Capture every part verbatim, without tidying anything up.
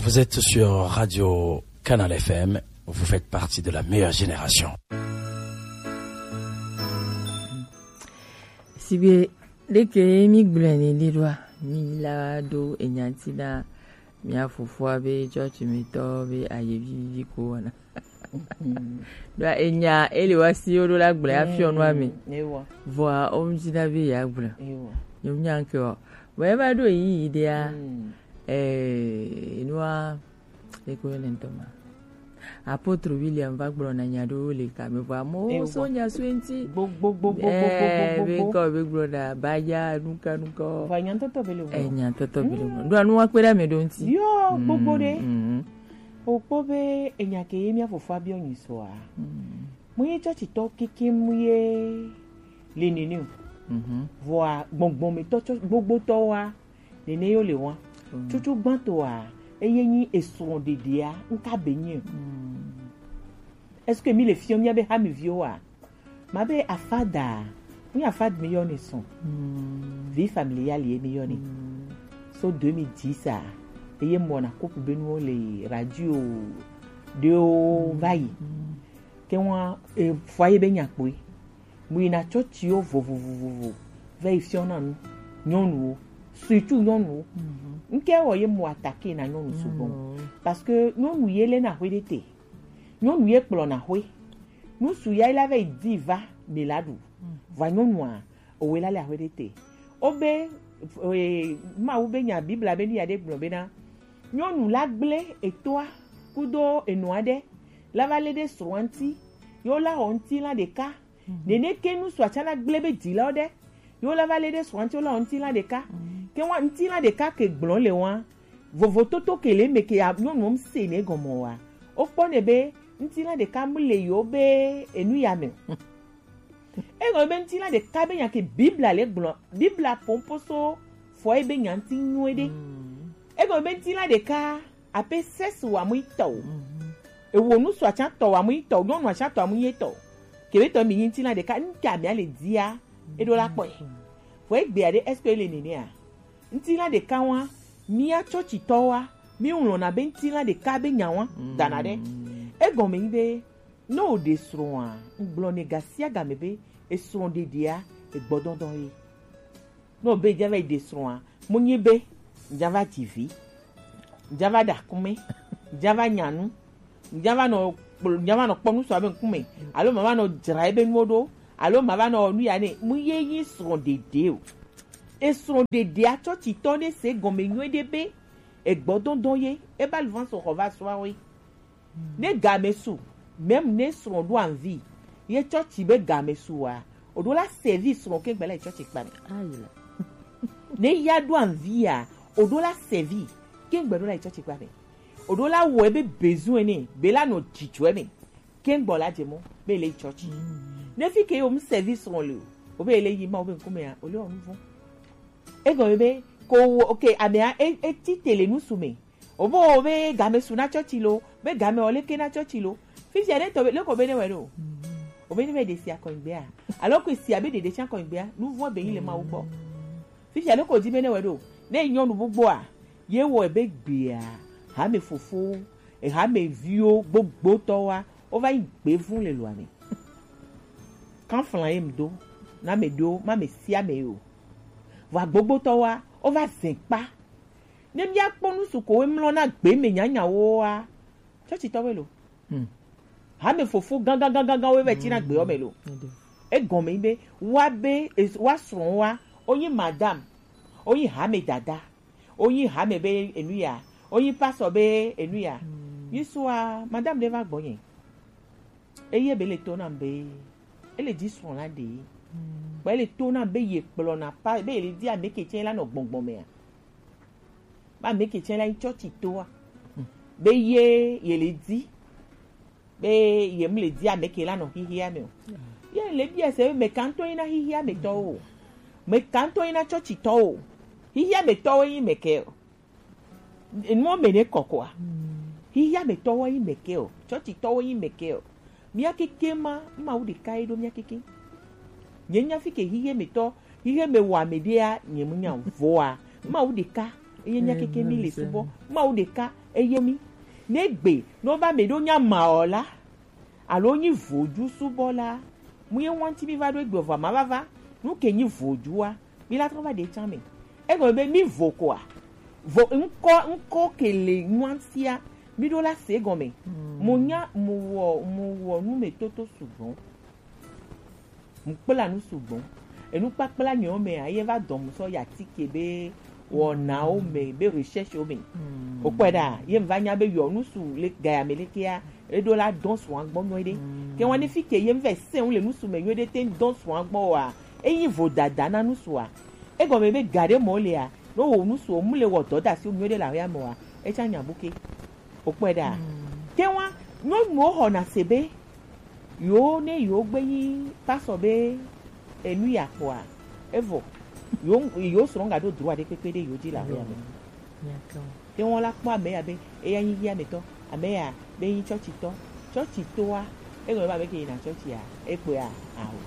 Vous êtes sur Radio Canal F M, vous faites partie de la meilleure génération. Sigbe ɖeke ye mi gblɔe ne ɖe ɖoa, mi la ɖo enya ŋuti na mia fofoa be tsɔtsi me tɔ be aye vivi ko wɔna. Ɖoa enya ele wa si wo ɖo la gblɔe afiɔ nua me. Vɔa o ŋuti na be ya gblɔ. Nyɔnu nya ke o. Vɔ eva ɖo yi yi ɖea. Eh, enua Eko yɔ le ŋutɔ ma. Apôtre William va gblɔ na nya ɖewo le kame vɔ amewo so nya so eŋti. Gbogbogbogbogbogbogbogbo. Be kɔ be gblɔ na baya nuka nuka. Vɔ nyantɔtɔ be le ŋgɔ. Eh, nyantɔtɔ be le ŋgɔ. Ɖo anu wa kpe ɖe ame ɖo ŋti. Yo, gbogbo ɖe. Mm. Okpɔ be enya ke ye mia fofoa biɔ nyi soa. Mu ye tsɔtsitɔ keke mu ye le nene o. Vɔa gbɔngbɔn me tɔ tsɔ gbogbo tɔ wa. Nene yo le wa. Tutu gbãtɔa, eye nyi esrɔ̃ɖeɖea, ŋka be nyi. Est-ce que mi le fiɔ mia be ha mi viwo wa? Ma be afada, mi afad mi yɔ ne sɔn. Vie familiale ye mi yɔ ne. So deux mille dix a, eye mɔ na couple be nuwo le radio ɖewo va yi. Ke wa e, foyer be nya kpoe. Mu yina tsɔtsiwo vovovovovo va yi fiɔna nu nyɔnuwo, surtout nyɔnuwo. Ŋkɛ wɔ ye mu attaquer na nyɔnu sugbɔ. Parce que nyɔnu ye le na hwe ɖe te. Nyɔnu ye kplɔ na hwe. Nu su ya la va yi di va mi la ɖu. Va nyɔnua owe la le ahwe ɖe te. O be e, Mawu be nya Biblia be nu ya ɖe gblɔ be na nyɔnu la gblẽ etoa kudo enɔa ɖe la va le ɖe srɔ̃a ŋti. Yo la xɔ ŋtilã ɖeka. Nene ke nu sua tsã la gblẽ be dzilawo ɖe. Yo la va le ɖe srɔ̃a ŋti, yo la xɔ ŋtilã ɖeka. Ke wa ŋtilã ɖeka ke gblɔ le wa. Vovototo ke le me ke ya nyɔnu m se ne gɔmɔ wa. O kpɔ ne be ŋtilã ɖeka mu le yo be enu ya me. Egɔme be ŋtilã ɖeka be nya ke Biblia le gblɔ. Biblia pompo so foyer be nya ŋti nyuie ɖe. Egɔme be ŋtilã ɖeka ape sexe wa mu yi tɔ o. Ewo nu sua tsã tɔ wa mu yi tɔ o, nyɔnua tsã tɔ wa mu yi tɔ o. Kebe tɔ mi nyi ŋtilã ɖeka, ŋka mi ale dia, eɖo la kpɔe. Vɔ egbea ɖe, est-ce que ele nenea? Ŋtilã ɖeka wa, mia tsɔtsitɔwoa, mi ŋlɔna be ŋtilã ɖeka be nya wa, dana ɖe. Egɔme nyi be, ne o ɖe srɔ̃a, ŋgblɔ ne gasiagame be, esrɔ̃ɖeɖea, egbɔdɔdɔ ye. Ne o be dza va yi ɖe srɔ̃a, mu nyi be, dza va dzi vi, dza va ɖa kume, dza va nya nu, dza va nɔ kpl-, dza va nɔ kpɔ nu sɔ abe ŋkume, alo ma va nɔ dzra ebe nuwo ɖo, alo ma va nɔ nu ya ne, mu ye nyi srɔ̃ɖeɖe o. Esrɔ̃ɖeɖea tsɔtsitɔ ne se gɔme nyuie ɖe be, egbɔdɔdɔ ye, eba le va sɔ xɔ va sɔa we. Ne game su, même ne srɔ̃ ɖo anvi, ye tsɔtsi be game su wa, o ɖo la servi srɔ̃ ke gbɛla yi tsɔtsi kpa me. Ne ya ɖo anvi ya, o ɖo la servi ke gbɛ ɖo la yi tsɔtsi kpa me. O ɖo la wɔ ebe besoin ne, be la nɔ dzidzɔ me. Ke gbɔ la dze mɔ, be le yi tsɔtsi. Ne fi ke yo mu servi srɔ̃ le o, o be le yi ma o be ŋkume ya, o le o nu vɔ. Egɔme be, ko wo, ok, amea, e, e ti te le nu su me. O bo be game su na tsɔtsi lo, be game o leke na tsɔtsi lo. Fifia ɖe tɔ be, leko be ne wɛ ɖo. O be ne wɛ ɖe sia kɔnyigbea. Alo ko sia be ɖeɖe sia kɔnyigbea, nu vɔ be yi le Mawu gbɔ. Fifia leko di be ne wɛ ɖo. Ne nyɔnu gbogboa, ye wɔ be gbea, hame fofo, e hame viwo gbogbotɔwa, o va yi gbe vun le loa me. Kan flan ye m do, na me do, ma me sia me yo. Vɔ gbogbotɔwa, o va zɛn kpa. Ne mia kpɔ nu su ko we mlɔ na gbe me nyanyawo wa, tsɔtsitɔwoe lo. Hame fofo gangan gangan gangan we vɛ tsi na gbeɔ me lo. Egɔme nyi be wa be es-, wa srɔ̃ wa, o nyi madame, o nyi hame dada, o nyi hame be enu ya, o nyi pasɔ be enu ya. Yi sua madame ɖe va gbɔnye. Eye be le to nam be ele dzi srɔ̃ la ɖe. Kpa ele to nam be ye kplɔ na pa be ele dzi ame ke tsɛ la nɔ gbɔngbɔn mea. Ba ame ke tsɛ la yi tsɔtsi toa. Be ye ye le dzi. Be ye mu le dzi ame ke la nɔ xixia me o. Ye le bia se be me kantɔ yi na xixia me tɔwo. Me kantɔ yi na tsɔtsi tɔwo. Xixia me tɔwo yi me ke o. Enuwo me ne kɔkɔa. Xixia me tɔwo yi me ke o. Tsɔtsi tɔwo yi me ke o. Mia keke ma, Mawu ɖeka ye ɖo mia keke. Nye nya fi ke xixia me tɔ, xixia me wa me ɖea, nye mu nya voa. Mawu ɖeka. Eye mía keke mi le subɔ. Mawu ɖeka eye mi. Ne gbe, ne woba mɛ ɖo nya ma ɔ la, alo nyi voju subɔ la, mu ye ŋuti mi va ɖo egbe vɔ ma va va. Nu ke nyi vojua, mi la trɔ va ɖe can mɛ. Egɔme be mi vo koa, vo ŋkɔ, ŋkɔ ke le ŋutia, mi ɖo la se egɔme. Mu nya, mu wɔ, mu wɔ nu me toto sugbɔ. Mu kpla nu sugbɔ. Enu kpakpla nyɔ me a, ye va dɔn mu sɔ ya tike be wɔnawo me, be recherche wo me. O kpɔe ɖa, ye va nya be yɔ nu su le gaya me leke ya, e ɖo la dɔn sua gbɔ nyɔ ɖe. Ke wɔn fi ke ye va se ŋu le nu su me nyɔ ɖe te dɔn sua gbɔ wa, e yi vo dada na nu sua. Egɔme be ga ɖe mɔ le a, no wo nu su o mu le wɔ dɔ da si o nyɔ ɖe la ya mɔ wa, e ca nya bu ke. O kpɔe ɖa. Ke wa nyɔnuwo xɔna se be yo ne yo gbe yi pasɔ be enu ya kpɔa, evɔ yo yo srɔ̃ ga ɖo droit ɖe kpekpe ɖe yo dzi la ya me. Ke wɔn la kpɔ ame ya be eya nyi yi ametɔ, ame ya be nyi tsɔtsitɔ. Tsɔtsitɔa, egɔme be ame ke yina tsɔtsia, ekpɔa aho.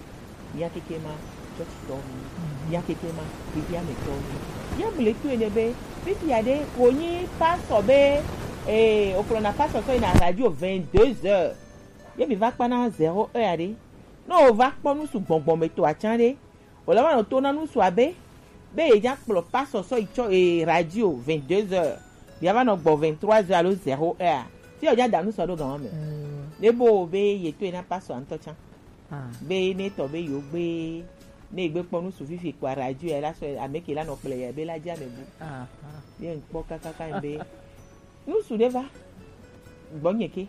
Mía keke ma tsɔtsitɔ mi. Mía keke ma xexeametɔ mi. Ye mu le to ene be, fifia ɖe, wò nyi pasɔ be, eh, okplɔna pasɔ sɔ yina radio vingt-deux heures. Ye mi va kpana zéro heure ɖe. Ne o va kpɔ nu su gbɔngbɔn me to atsa ɖe, o la va nɔ to na nu su abe, be ye dza kplɔ pasɔ sɔ yi tsɔ, eh, radio vingt-deux heures. Bia va nɔ gbɔ vingt-trois heures alo zéro heure. Fi o dza da nu sɔ ɖo gan me. Ne bo be ye to ena pasɔ ŋutɔ tsa. Be ne tɔ be yo gbe, ne gbe kpɔ nu su fifi kpɔ radio ya la sɔ ame ke la nɔ kplɔ ya be la dza me bu. Ye ŋkpɔ kakaka be nu su ɖe va gbɔnye ke.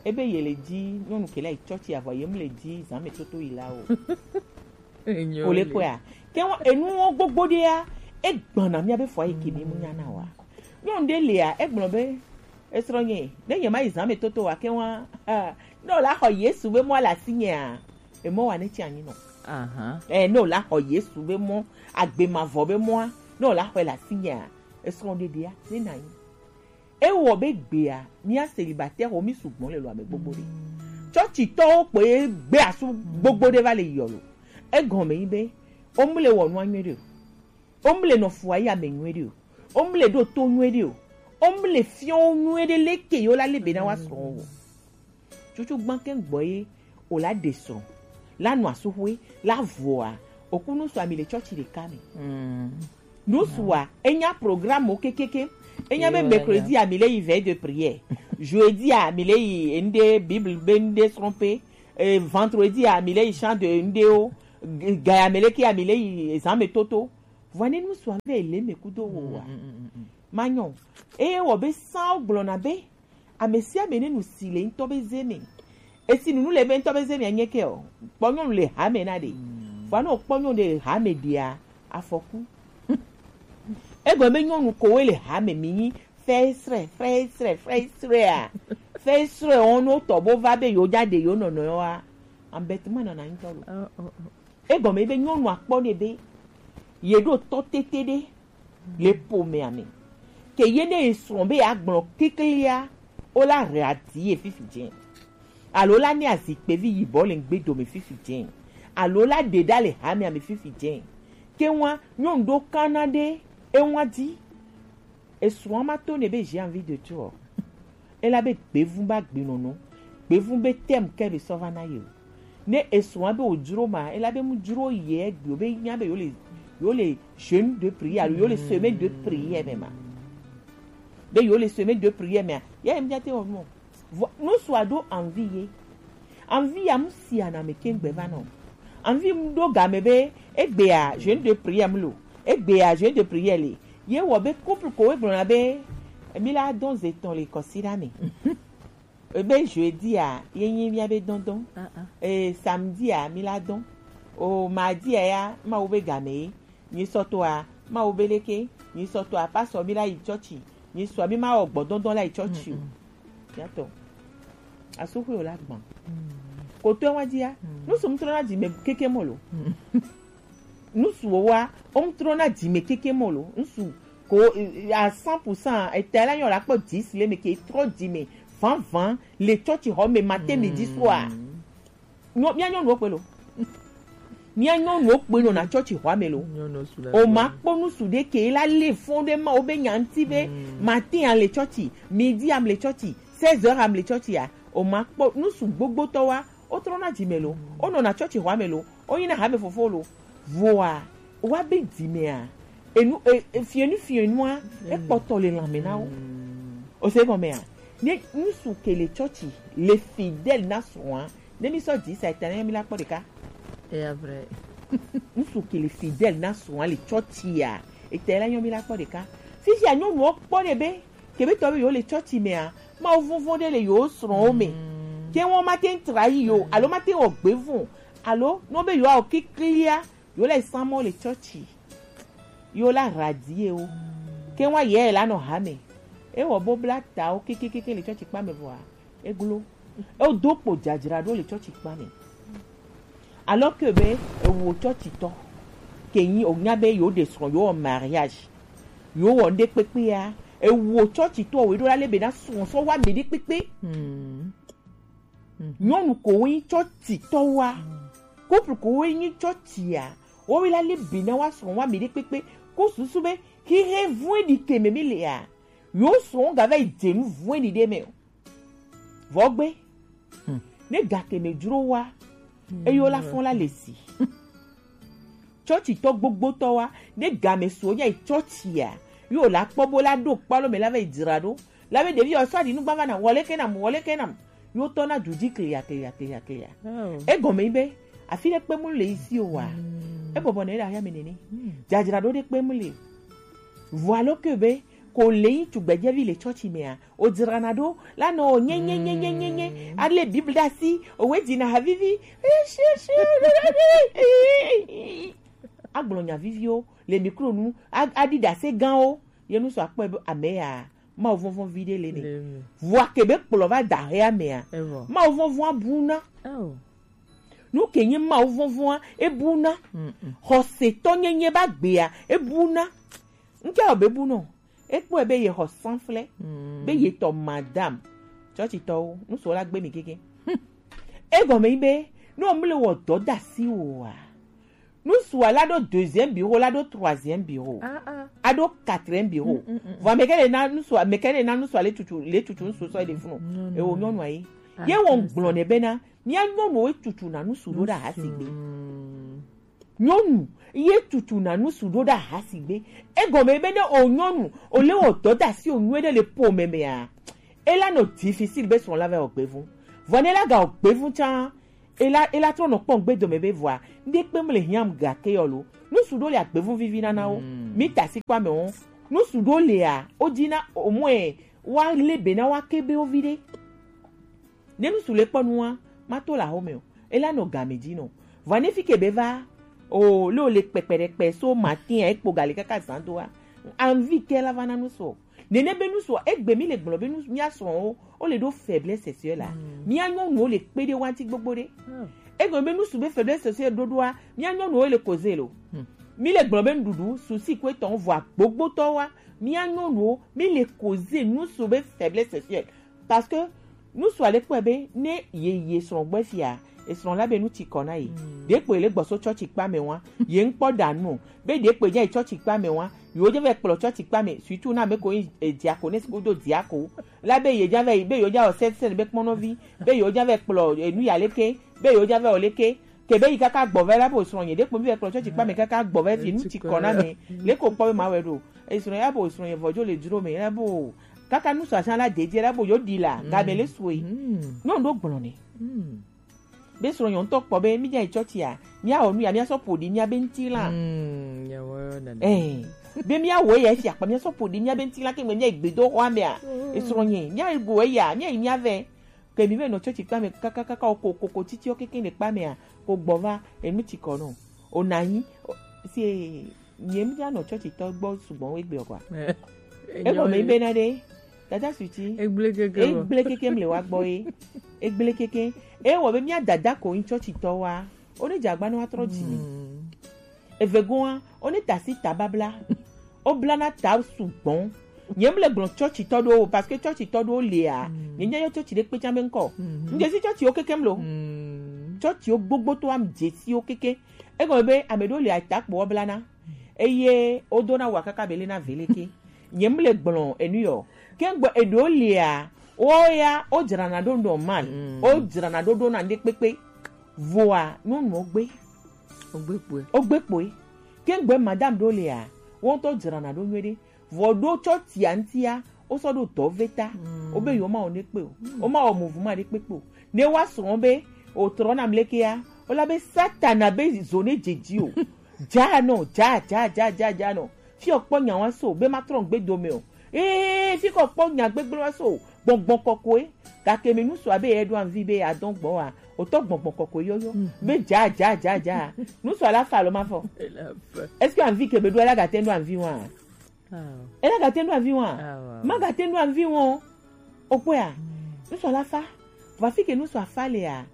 Ebe ye le dzi nyɔnu ke la yi tsɔtsi avɔ ye mu le dzi zã me toto yi la o. O le kpɔa? Ke wa enuwo gbogbo ɖea, egbana mía be fɔ yi ke mi mu nya na wa. Nyɔnu ɖe lia, egblɔ be, esrɔ̃nye, ne nye ma yi zã me toto wa ke wa, ne o la xɔ Yesu be mɔ le asinyea, emɔ wa ne tsi anyi nɔ. Eh, ne o la xɔ Yesu be mɔ, agbe mavɔ be mɔa, ne o la xɔe le asinyea, esrɔ̃ ɖeɖea, ne na anyi. Ewɔ be gbea, mía célibataire wo mi sugbɔ le lo ame gbogbo ɖe. Tsɔtsitɔwo kpo ye gbe asu gbogbo ɖe va le yɔ lo. Egɔme nyi be, wo mu le wɔ nua nyuie ɖe o. Wo mu le nɔ fua yi ame nyuie ɖe o. Wo mu le ɖo to nyuie ɖe o. Wo mu le fiɔ wo nyuie ɖe leke yo la le be na wa srɔ̃ wo. Tsutsu gbã ke gbɔ ye o la ɖe srɔ̃, la nɔ asuxwe, la vɔa, oku nu sua mi le tsɔtsi ɖeka me. Nu sua, enya programme wo kekeke. Enya be mercredi a mi le yi veille de prière. Jeudi a mi le yi ende Bible be ende srɔ̃ƒe. Eh, vendredi a mi le yi chant de ende o. Gaya me leke a mi le yi zã me toto. Vɔa ne nu sua ve le me kudo wo wa. Manyɔ. Eye wɔ be sã wo gblɔna be, ame sia ame ne nu si le ŋutɔ be ze me. Esi nunu le be ŋutɔ be ze me anye ke o. Kpɔ nyɔnu le hame na ɖe. Vɔa ne wokpɔ nyɔnu ɖe le hame ɖea, afɔku. Egɔme be nyɔnu kowoe le hame mi nyi fɛsrɛ, fɛsrɛ, fɛsrɛ a. Fɛsrɛ wɔn no tɔ bo va be yo dza ɖe yo nɔnɔ wa. Embêtement nɔna ŋutɔ lo. Egɔme be nyɔnua kpɔ nɛ be ye ɖo tɔ tete ɖe le ƒomea me. Ke ye ne esrɔ̃ be yeagblɔ keklia, wo la he ati ye fifi dze. Alo la ne azikpevi yibɔ le ŋgbe dome fifi dze. Alo la ɖe ɖa le hamea me fifi dze. Ke ŋua, nyɔnu ɖo kana ɖe eŋua dzi. Esrɔ̃a ma to nɛ be j'ai envie de toi o. Ela be gbevu ba gbenɔnɔ. Gbevu be thème ke be sɔ va na ye o. Ne esrɔ̃a be wòdzro ma, ela be mu dzro ye egbe o, be nya be yo le, yo le jeûne de prière alo yo le semaine de prière me ma. Be yo le semaine de prière me a, ya ye mu te wɔ nu o. Vɔ, nu sua ɖo envie ye. Envie ya mu sia na me ke ŋgbe va nɔ. Envie mu ɖo game be egbea jeûne de prière mu lo. Egbea jeûne de prière le. Ye wɔ be couple ko egblɔna be mi la dɔn ze tɔn le kɔsiɖa me. Ebe jeudi a ye nyi mía be dɔndɔn. Ee, samedi a mi la dɔn. O mardi a ya Mawu be game ye. Nyi sɔ toa Mawu be leke. Nyi sɔ toa pasɔ mi la yi tsɔtsi. Nyi sɔ mi ma wɔ gbɔdɔndɔn la yi tsɔtsi o. Mía tɔ. Asuxwe o la gbɔn. Kotoe wa dia. Nu su mu trɔna dzi me keke mɔ lo. Nu su wo wa, o mu trɔna dzi me keke mɔ lo. Nu su ko, eh, à cent pour cent, eta la nyɔ la kpɔ dix le me ke trɔ dzi me. Van van le tsɔtsi xɔ me matin midi soir. Nyɔ, mía nyɔnuwo kpe lo. Mía nyɔnuwo kpoe nɔna tsɔtsi xɔa me lo. O ma kpɔ nusu ɖe ke la lé fɔn ɖe ma wo be nya ŋuti be matin a le tsɔtsi, midi a le tsɔtsi, seize heures a le tsɔtsi a. O ma kpɔ nusu gbogbotɔ wa, wo trɔna dzi me lo. Wo nɔna tsɔtsi xɔa me lo. Wo nyina hame fofo lo. Voa wa be dzi mea, enu e, e, fienu fienua ekpɔtɔ le lãme na wo. O se gɔmea? Ne nusu ke le tsɔtsi le fidèle na srɔ̃a, ne mi sɔ dzi sa eta ne mi la kpɔ ɖeka. Eya vrai. Nusu ke le fidèle na srɔ̃a le tsɔtsia, eta la nyɔ mi la kpɔ ɖeka. Fisia nyɔnuwo kpɔ ɖe be kebe tɔ be yo le tsɔtsi mea, Mawu vɔvɔn ɖe le yo srɔ̃wo me. Ke wɔn mate ŋu trayi yo alo mate ŋu wɔ gbevɔn alo no be yo awɔ kiklia yo le samɔ le tsɔtsi. Yo la radie wo. Ke wa yɛ la nɔ hame. E wɔ bo bla ta wo kekekeke le tsɔtsi kpa me vɔa. E glo. E do kpo dzadzra ɖo le tsɔtsi kpa me. Alors que be ewo tsɔtsitɔ ke nyi o nya be yo de srɔ̃ yo wɔ mariage. Yo wɔ nde kpekpe ya. Ewo tsɔtsitɔ wo ɖo la le be na srɔ̃ sɔ wa mi ɖe kpekpe. Nyɔnu ko wo nyi tsɔtsitɔ wa. Couple ko wo nyi tsɔtsia. Wo wi la le be na wa srɔ̃ wa mi ɖe kpekpe. Ko susu be hihe vue ɖi ke me mi le ya. Yo srɔ̃ ga va yi dze nu vue ɖi ɖe me o. Vɔ gbe. Ne ga ke me dzro wa. Eyo la fɔn la le si. Tsɔtsitɔ gbogbotɔ wa, ne game suɔ nya yi tsɔtsia, yo la kpɔ bo la ɖo kpalo me la va yi dzra ɖo. La be ɖevi ɔsɔ aɖi nugba va na, wɔle ke nam, wɔle ke nam. Yo tɔ na du dzi klia, klia, klia, klia. Egɔme yi be, afi ɖe kpe mu le isi o wa. Ebɔbɔ ne ɖe ahia me nene. Dzadzra ɖo ɖe kpe mu le. Vɔ alo ke be, ko le yi tugbedzevi le tsɔtsi mea, o dzrana ɖo la nɔ nye nye nye nye nye nye. Ale Bible ɖe asi, owe dzina havivi. Agblɔ nya viviwo le mikro nu, aɖi ɖase gãwo. Ye nu sɔ akpɔe be ame ya, Mawu vɔvɔn vi ɖe le ne. Vɔa ke be kplɔ va da hea mea, Mawu vɔvɔn abuna. Nu ke nye Mawu vɔvɔn ebuna. Xɔsetɔ nyenye ba gbea ebuna. Nke o be bunɔ. Ekpɔe be ye xɔ sanflɛ, be ye tɔ madame. Tsɔtsitɔwo, nu sɔ la gbe mi keke. Egɔme yi be, ne o mle wɔ dɔ da si o wa. Nu sɔ la ɖo deuxième bureau, la ɖo troisième bureau. A ɖo quatrième bureau. Vɔ ame kɛ le na nu sɔ, ame kɛ le na nu sɔ le tutu, le tutu nu sɔ sɔ le funu. E wo nyɔnu ayi. Ye wo gblɔ ne be na, mia nyɔnu wo tutu na nu su ɖo ɖa ha si gbe. Nyɔnu ye tutu na nu su ɖo ɖa ha si gbe. Egɔme be ne o nyɔnu, o le wɔ dɔ da si o nyuie ɖe le po me mea. E la nɔ difficile be srɔ̃ la va wɔ gbevun. Vɔ ne la ga wɔ gbevun tsa, e la, e la trɔ nɔ kpɔn gbe dome be vɔa. Nde kpe mle hiam ga ke yɔ lo. Nu su ɖo le agbevun vivi nana wo. Mi ta si kpa me wo. Nu su ɖo le a, o dzi na o mɔe, wa le be na wa ke be o vi ɖe. Ne nu su le kpɔ nua, ma to la home o. E la nɔ game dzi nɔ. Vɔ ne fi ke be va, o, le o le kpɛkpɛ ɖe kpɛ so matin a, ekpo ga le kaka zan do a. Anvi ke la va na nu su. Nene be nu su, egbe mi le gblɔ be nu, mia srɔ̃wo, o le ɖo faiblesse sexuelle la. Mia nyɔnuwo le kpe ɖe wa ŋuti gbogbo ɖe. Egbe be nu su be faiblesse sexuelle ɖoɖoa, mia nyɔnuwo le koze lo. Mi le gblɔ be nuɖuɖu, susi ko etɔn vɔ gbogbotɔ wa, mia nyɔnuwo, mi le koze nu su be faiblesse sexuelle. Parce que nu su ale kpɔe be ne ye ye srɔ̃ gbɔ fia, esrɔ̃ la be nu tsi kɔ na ye. Ɖe kpɔe le gbɔso tsɔtsi kpa me wa, ye ŋkpɔ da nu o. Be ɖe kpɔe dza yi tsɔtsi kpa me wa, yewo dza vɛ kplɔ tsɔtsi kpa me, surtout na me ko yin, eh, diaconesse ko do diako. La be ye dza vɛ yi, be yewo dza wɔ sɛnsɛn be kpɔnɔvi, be yewo dza vɛ kplɔ, eh, nu ya leke, be yewo dza vɛ wɔ leke. Ke be yi kaka gbɔ vɛ la bo srɔ̃ nye, ɖe kpɔe mi vɛ kplɔ tsɔtsi kpa me kaka gbɔ vɛ fi nu tsi kɔ na me. Le ko kpɔ be ma wɛ ɖo. Esrɔ̃ ya bo srɔ̃ nye vɔdzo le dzro me, ya bo kaka nu sasa la dedie la bo yo di la, ga me le sue. No ndo gblɔ ne. Be srɔ̃ nyɔ ŋutɔ kpɔ be mi dza yi tsɔtsia, mia wɔ nu ya, mia sɔ ƒo ɖi mia be ŋuti la. Eh, be mia wɔ ya fi akpa, mia sɔ ƒo ɖi mia be ŋuti la ke me mia yi gbedoxɔa mea. Esrɔ̃ nye, mia yi go ya, mia yi mia vɛ. Ke mi be nɔ tsɔtsi kpa me kaka kaka o ko ko ko titi o keke ne kpa mea, ko gbɔ va, enu tsi kɔ no. O na yi, o, si e, nye mi dza nɔ tsɔtsi tɔ gbɔ sugbɔ egbe o kwa. Egbe me be na de. Tata suti. Egble keke. Egble keke mle wa gbɔ ye. Egble keke. E wɔ be mia dada ko yin tsɔtsi tɔ wa. O ne dza gba no wa trɔ dzi mi. Eve goa, o ne ta si ta babla. O bla na ta sugbɔ. Nye mle gblɔ tsɔtsi tɔ ɖo o, parce que tsɔtsi tɔ ɖo lea. Nye nya yɔ tsɔtsi ɖe kpe tsa be ŋkɔ. Nje si tsɔtsi o keke mlo. Tsɔtsiwo gbogbo to am dzesiwo keke. Egɔme be ame ɖewo le atakpo woblana. Eye wodona wa kaka be lena veleke. Nye mle gblɔ enu yɔ. Ke ŋgbe eɖewo lia, wo ya, wodzrana ɖo normal. Mm. Wodzrana ɖo ɖona ŋɖe kpekpe. Voa, nyɔnuwo gbe. Wogbe kpoe. Wogbe kpoe. Ke ŋgbe madame ɖewo lia, wo ŋutɔ dzrana ɖo nyuie ɖe. Vɔ ɖo tsɔtsia ŋutia, wosɔ ɖo dɔ ve ta. Mm. Wobe yewo mawɔ ne kpe o. Mm. Womawɔ mouvement ɖe kpekpe o. Ne woa srɔ̃ be, wòtrɔ nam lekea, wola be Satana be zo ne dzedzi o. Dza nɔ, dza, dza, dza, dza, dza nɔ. Fi kpɔ nya wa so, be matrɔ ŋgbe dome o. Ee, fi kɔ kpɔ nya gbegblẽ wa so, gbɔngbɔn kɔkɔe. Gake mi nusu abe ye ɖo anvi be adɔn gbɔ wa, wotɔ gbɔngbɔn kɔkɔe yɔyɔ. Mm. Be dza, dza, dza, dza. Nusu ala fa alo ma fɔ? Ela fa. Est-ce que anvi ke be ɖo ala gate ɖo anvi wa? Ah. Ela gate ɖo anvi wa? Ah, wa. Ma gate ɖo anvi wa. Okpɔe a? Mm. Nusu ala fa. Va fi ke nusu afa le a.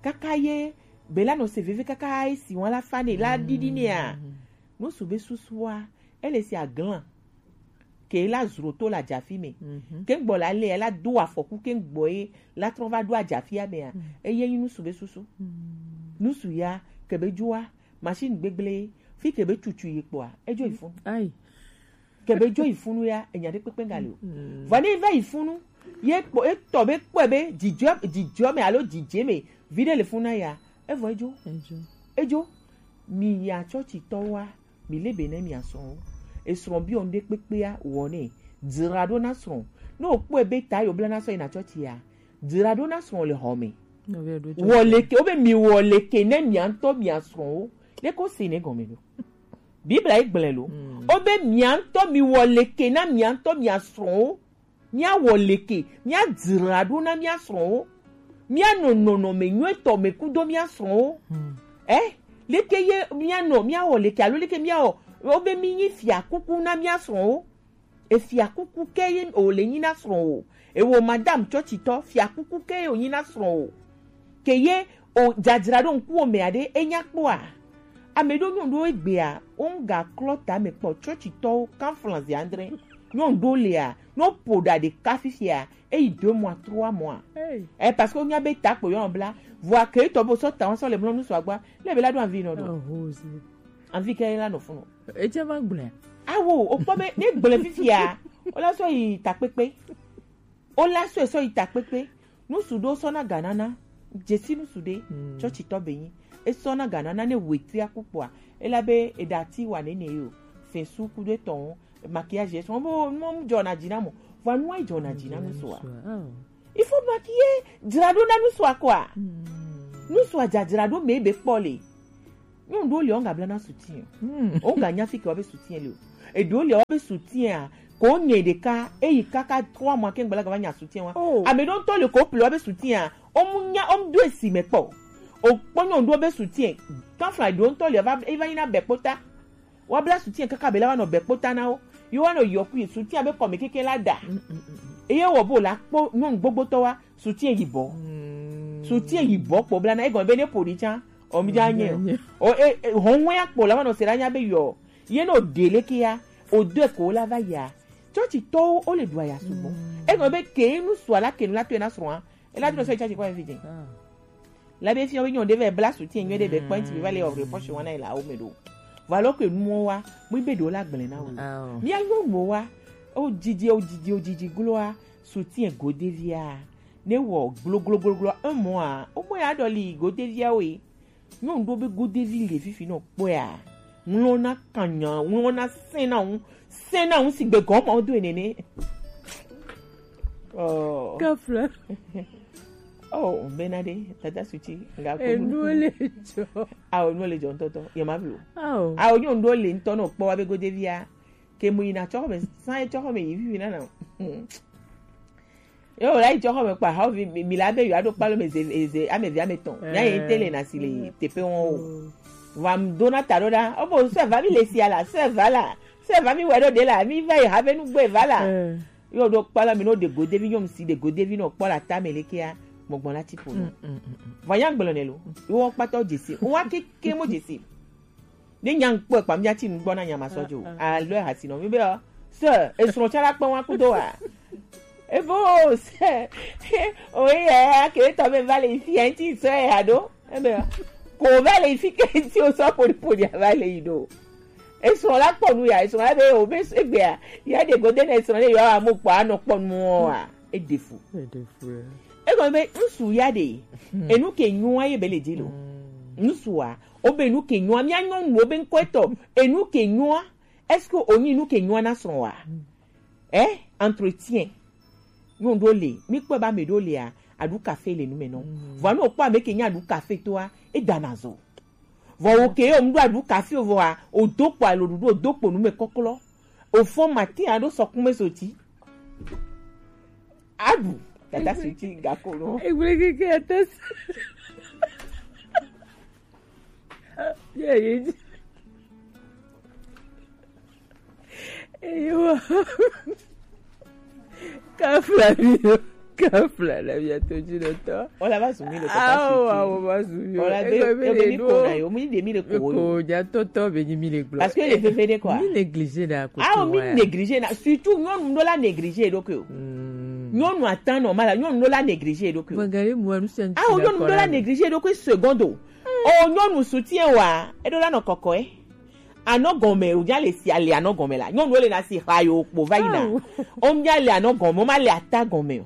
Kaka ye, be la nɔ se veve kaka esi wa la fa ne, la ɖiɖi ne a. Mm. Nusu be susua, ele si aglan. Ke la zro to la dzafi me. Mhm. Ke gbɔ la le, la do afɔku ke gbɔ ye, la trɔ va do adzafi a me a. Mm. Eye nyi nusu be susu. Mm. Nusu ya, ke be dzoa, machine gbegble, fi ke be tutu ye kpɔa, edzo yi funu. Ayi. Ke be dzo yi funu ya, enya ɖe kpekpe ŋga le o. Mm. Vɔ ne va yi funu, ye kpɔ, etɔ be kpɔe be dzidzɔ, dzidzɔ me alo dzidze me, vi ɖe le funu na ya, evɔ edzo. Edzo. Edzo. Mi ya tsɔtsitɔwoa, mi le be ne mi asrɔ̃wo. Esrɔ̃ bi ɔnu ɖe kpekpea wɔ ne. Dzra ɖo na srɔ̃. Ne o kpɔe be ta yo bla na sɔ yi na tsɔtsia, dzra ɖo na srɔ̃ le xɔ me. Nɔvia ɖo tsɔ. Wɔ leke, wo be mi wɔ leke ne mia ŋutɔ mia srɔ̃wo. Leke o se ne gɔme ɖo? Biblia ye gblẽ lo. Mm. O be mia ŋutɔ mi wɔ leke na mia ŋutɔ mia srɔ̃wo. Mia wɔ leke, mia dzra ɖo na mia srɔ̃wo. Mia nɔ nɔnɔme nyuietɔ me kudo mia srɔ̃wo. Mm. Eh? Leke ye mia nɔ, mia wɔ leke alo leke mia wɔ, o be mi nyi fia kuku na mia srɔ̃wo. Efia kuku ke ye o le nyi na srɔ̃ o. Ewo madame tsɔtsitɔ, fia kuku ke ye o nyi na srɔ̃ o. Ke ye o dzadzra ɖo ŋkuwo me aɖe, enya kpɔa? Ame ɖo nyɔnu ɖo egbea, wo ŋga klɔ tame kpɔ tsɔtsitɔwo, kan flanze andre. Nyɔnu ɖo lea, no ƒo ɖa ɖeka fifia, eyi deux mois, trois mois. Hey. Eh, parce que wonya be ta kpo yɔ bla. Vɔa ke tɔ bo sɔ ta, wọn sɔ le mlɔ nu sɔ agba. Le be la ɖo anvi nɔ ɖo. Oh, ho, zi. Anvi ke la nɔ funu. Edze va gblẽ. Awo, o kpɔ be, ne gblẽ fifia, o la sɔ yi takpekpe. O la sɔ, sɔ yi takpekpe. Nusu ɖo sɔ na ganana, dzesi nusu ɖe, mm, tsɔtsitɔ be nyi. E sɔ na ganana ne wetria kukpɔa, e la be e ɖa ti wa nene yo. Fɛn su kudo etɔn, maquillage, e sɔ, bo, mo, mo jɔ na dzi na mo. Vɔa nua jɔ na dzi na nusu a. Oh. Il faut maquiller, dzra ɖo na nusua kɔa. Hmm. Nusua dzadzra ɖo me be kpɔ le. Nyɔnu ɖewo le wo ga bla na soutien. Hmm. Wo ga nya fi ke wo be soutien le o. Eɖewo le wo be soutien a, ko nye ɖeka, eyi kaka trois mois ke ŋgbe la ga va nya soutien wa. Oh. Ame ɖewo ŋutɔ le ko ple wo be soutien a, wo mu nya, wo mu do esi me kpɔ. O kpɔ nyɔnu ɖewo be soutien. Kan fla ɖewo ŋutɔ le va, eva yi na be kpota. Wa bla soutien kaka be la wa nɔ be kpota na wo. Yo wa nɔ yɔ kui soutien be kɔme keke la da. Mm, mm, mm, mm. Eye wɔ bo la kpɔ nyɔnu gbogbotɔ wa soutien yibɔ. Mm. Soutien yibɔ kpɔ bla na egɔme be ne ƒo ɖi tsa. O mi dza nye. O, e, e, hɔn wɛ ya kpɔ la wa nɔ se la nya be yɔ. Ye no de le ke ya. O de ko la va ya. Tsɔtsitɔwo wo le ɖu aya sugbɔ. Mm. Egɔme be ke nu sua la ke nu la to na srɔ̃a. E la do sɔ tsatsi kɔ evi dze. Ah. La be fia be nyɔ ɖe vɛ bla soutien nyuie ɖe be kpɛnti be va le ɔ reproche wana la wo me ɖo. Valo ke nuwo wa, mu be ɖo la gblẽ na wo. Ah. Mia nyɔnuwo wa, o didi, o didi, o didi gloa, soutien godevia. Ne wɔ glo, glo, glo, glo, un mois, o mo ya ɖɔ li godevia o yi. Nyɔnu ɖo be godevi le fifi nɔ kpɔa. Ŋlɔ na kanya, ŋlɔ na sɛn na ŋu, sɛn na ŋu si gbe gɔmɔ do nene. Oh. Kafla. Oh, bena de, tata suti, nga ko. Enu le jɔ. Ah, enu le jɔ ntɔtɔ, ye ma blo. Ah. Ah, nyɔnu ɖo le ŋutɔ nɔ kpɔ wa be godevia. Ke mu yina tsɔ xɔme, san ye tsɔ xɔme yi vivi nana. Yo, la yi tsɔ xɔme kpa, ha vi, mi, mi la be yo aɖo kpalo me ze, ze, ame vi ame tɔn. Mia ye te le na si le tepe wɔn o. Mm. Va m do na ta ɖo ɖa. O bo sɛ va mi le sia la, sɛ va la. Sɛ va mi wɛ ɖo de la, mi va yi ha be nu gbe va la. Eh. Yo ɖo kpalo mi no de godevi nyɔnu si de godevi nɔ kpɔ la ta me le kea, gbɔgbɔ la ti ƒo nɔ. Mm, mm, mm, mm. Va nya gblɔ ne lo. Wo kpatɔ dzesi. Wo wa ke, ke mo dzesi. Ne nya ŋkpɔe kpa, mía ti nugbɔ na nya ma sɔ dzo. Ah, ah. Alo hasi nɔ mi be o. Sir, esrɔ̃ tsã la kpɔ wa kudo wa. Evo, sir. O ye, ke tɔ be va le ici, hein, ti sir, ya do. Ebe ko va le yi fi ke ti o sɔ poli poli a va le yi ɖo. Esrɔ̃ la kpɔ nu ya, esrɔ̃ la be o be egbea ya de gode na esrɔ̃ ne yɔ amu kpɔ anɔ kpɔ nu wa e de fu. Egɔme be ŋsu ya de enu ke nyɔa ye be le dzi lo. Ŋsua o be enu ke nyɔa mia nyɔnu o be ŋkɔ etɔ enu ke nyɔa, est-ce que o nyi enu ke nyɔa na srɔ̃ wa? Eh, entretien. Nyɔnu ɖo le, mi kpɔ ba me ɖo lea, aɖu kafe le nu me nɔ. Vɔ ne o kpɔ ame ke nya aɖu kafe toa, e dana zo. Vɔ wo ke yo ŋɖo aɖu kafe vɔa, o do kpo alo ɖuɖu o do kpo nu me kɔklɔ. O fɔ matin aɖo sɔkume soti. Aɖu tata soti gako nɔ. Egble keke ate. Ye ye. Eyo. Kafla mi o. Kafla la mi ato dzi ɖo tɔ. Wala va zu mi le kɔkɔ. Awo, awo, va zu mi o. Wala be ebe ni ko na yo mi de mi le ko yo. Ko ja tɔtɔ be ni mi le gblɔ. Parce que le veve de quoi. Mi négligé da ko. Awo mi négligé na, surtout nyɔnu ɖo la négligé ɖo ko. Nyɔnu atan normal, nyɔnu ɖo la négligé ɖo ko. Awo nyɔnu ɖo la négligé ɖo ko seconde. O nyɔnu soutien wa, e ɖo la nɔ kɔkɔe. Anɔ gɔme o ja le si ale anɔ gɔme la. Nyɔnu le na si xa yo kpo va yina. O mia le anɔ gɔme, o ma le ata gɔme o.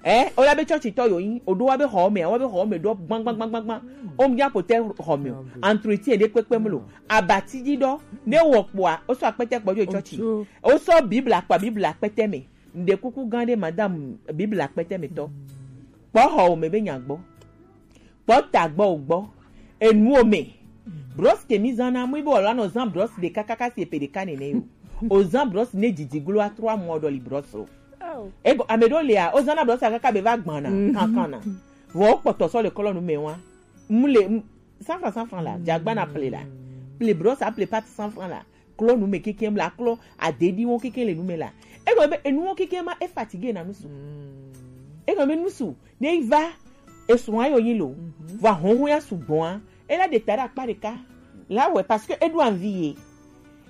Eh, o la be church tɔ yo yin, o ɖo wa be xɔ me, wa be xɔ me ɖo gbã gbã gbã gbã gbã. O mia pote xɔ me o. Entretien ɖe kpekpe mlo. Abati dzi ɖɔ, ne wɔ kpoa, o sɔ akpete kpɔ jo church. O sɔ Bible akpa Bible akpete me. Nde kuku gan ɖe madame Bible akpete me tɔ. Kpɔ xɔ o me be nya gbɔ. Kpɔ ta gbɔ o gbɔ. Enuwo me. Brosse ke mi zan na mu be wala nɔ zan brosse ɖeka kaka si epe ɖeka nene yo. O zan brosse ne didi glo a trois mois ɖɔ li brosse o. Ego ame ɖo lea, o zan na brosse kaka be va gbana kankan na. Vɔ o kpɔtɔ sɔ le kɔlɔ nu me wa. Mu le mu- cent francs, cent francs la, dza gba na ple la. Ple brosse a ple pâte cent francs la. Klɔ nu me keke la, klɔ adedi wo keke le nu me la. Ego be enu wo keke ma e fatigué na nusu. Ego be nusu ne va esrɔ̃ ayo yin lo. Va honhon ya sugbɔn a. E la de ta ɖe akpa ɖeka. La wɛ parce que e ɖo envie ye.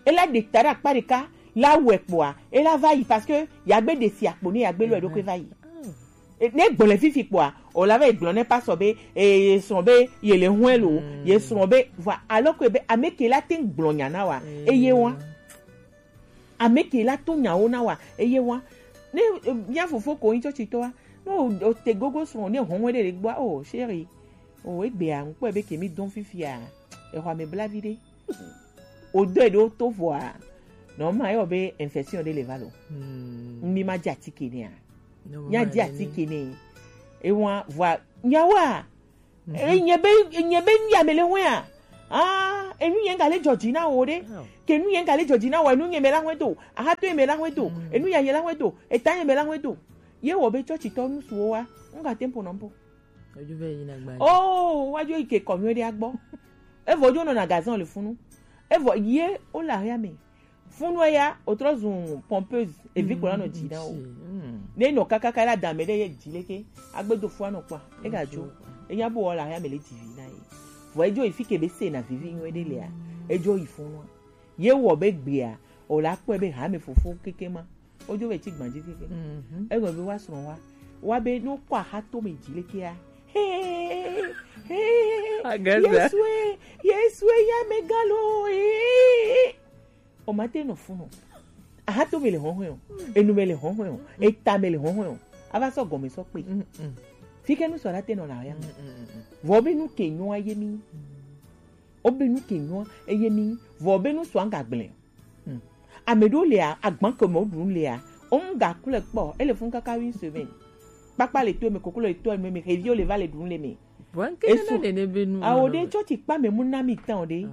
E la de ta ɖe akpa ɖeka. La wɛ kpoa. E la va yi parce que ya gbe de si akpo ne ya gbe lo e ɖo ke va yi. E, ne gblɔ le fifi kpoa, o la va yi gblɔ ne pasɔ be, e, ye srɔ̃ be ye le hɔn lo, ye srɔ̃ be, vɔ, alors que be ame ke la te ŋu gblɔ nya na wa, eye wa. Ame ke la to nyawo na wa, eye wa. Ne, e, mia fofo ko yin church tɔa, no o te gogo srɔ̃ ne hɔn ɖe le gbɔ, oh chérie, oh egbea ŋkpɔ be ke mi dɔn fifia, exɔ ame bla vi ɖe. O do e ɖo to vɔa, nɔ ma yɔ be infection ɖe le va lo. Mi ma dzi atike nea. Nya dzi atike ne. Ewa vɔa nyawa. E nye be, e nye be nu ya me le hwea. Ah, enu ye nga le dzɔdzi na wo ɖe. Ke nu ye nga le dzɔdzi na wo, enu ye me la hwe do. Aha to ye me la hwe do. Enu ya ye la hwe do. Eta ye me la hwe do. Ye wɔ be church tɔ nu suwo wa. Nga tempo nɔ mpo. Ojo ve yina gba. Oh, wa jo ike kɔmi ɖe agbɔ. Evɔ jo nɔ na gazan le funu. Evɔ ye o la ya me. Funu ya o trɔ zun pompeuse evi ko la nɔ dzi na o. Ne nɔ kakaka la dame ɖe ye dzi leke. Agbe do fua nɔ kpa. E ga jo. E nya bo o la ya me le dzi vi na ye. Vɔ ejo ifi ke be se na vivi nyuie ɖe lea. Ejo yi funu. Ye wɔ be gbea o la kpɔe be ha me fofo keke ma. Ojo ve tsi gbadzi keke. Egbe be wa srɔ̃ wa. Wa be no kɔ aha to me dzi lekea. Hee, hee. Yesue, Yesue ya me galo. Hee. O ma te nɔ funu. Aha to me le hɔhɔe o. Enu me le hɔhɔe o. Eta me le hɔhɔe o. Ava sɔ gɔme sɔ kpe. Fike nu sɔ la te nɔ la ya me. Vɔ be nu ke nyɔa ye mi. O be nu ke nyɔa eye mi. Vɔ be nu sɔ anga gblẽ. Ame ɖewo lia, agban ke me woɖu nu lia, wo ŋu gaklɔe kpɔ, ele funu kaka une semaine. Kpakpa le to eme, koklo le to eme, xeviwo le va le ɖu nu le eme. Esu. Awo ɖe tsɔtsi kpa me mu na mi tã o ɖe.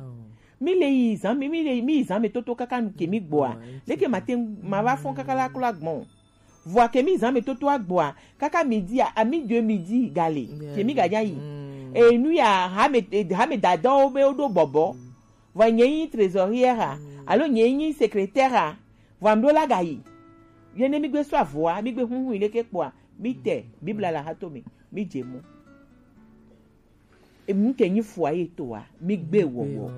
Mi le yi zan me, mi le mi yi zan me toto kaka nu ke mi gbɔa. Leke ma te ma va fɔn kaka la klo agbɔn. Vɔa ke mi zan me toto agbɔa, kaka midi a, à midi e midi gale, ke mi ga nya yi. Enu ya hame, hame dadawo be woɖo bɔbɔ. Vɔ nye nyi trésorière a, alo nye nyi secrétaire a, vɔ amɖo la gayi. Ye ne mi gbe sɔ avɔa, mi gbe huhu yi leke kpɔa, mi te Biblia la ha to mi, mi dze mo. Enu ke nyi foyer toa, mi gbe wɔwɔ.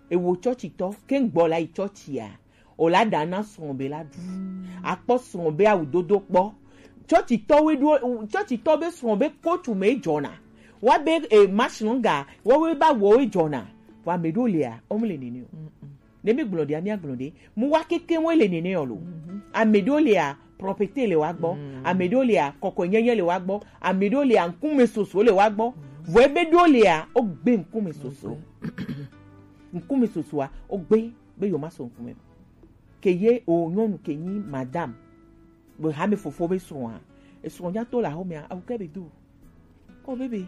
Ewo tsɔtsitɔ, ke ŋgbɔ la yi tsɔtsia, o la ɖa na srɔ̃ be la ɖu. Akpɔ srɔ̃ be awudodo kpɔ. Tsɔtsitɔwoe ɖo, tsɔtsitɔ be srɔ̃ be kotu me dzɔna. Wa be e machine nga wo we ba wo e jona. Wa me do le a, o mu le nene o. Ne mi gblɔ ɖea, míagblɔ ɖe. Mu wa keke wo le nene o lo. Ame ɖewo lia, propreté le wa gbɔ. Ame ɖewo lia, kɔkɔenyenye le wa gbɔ. Ame ɖewo lia, ŋkume soso le wa gbɔ. Vɔ ebe ɖewo lia, wogbe ŋkume soso. Ŋkume sosoa, wogbe be yewo ma sɔ ŋkume. Ke ye o nyɔnu ke nyi madame. Be hame fofo be srɔ̃a. Esrɔ̃ nya to le axɔmea, awu ke be do. Oh, baby.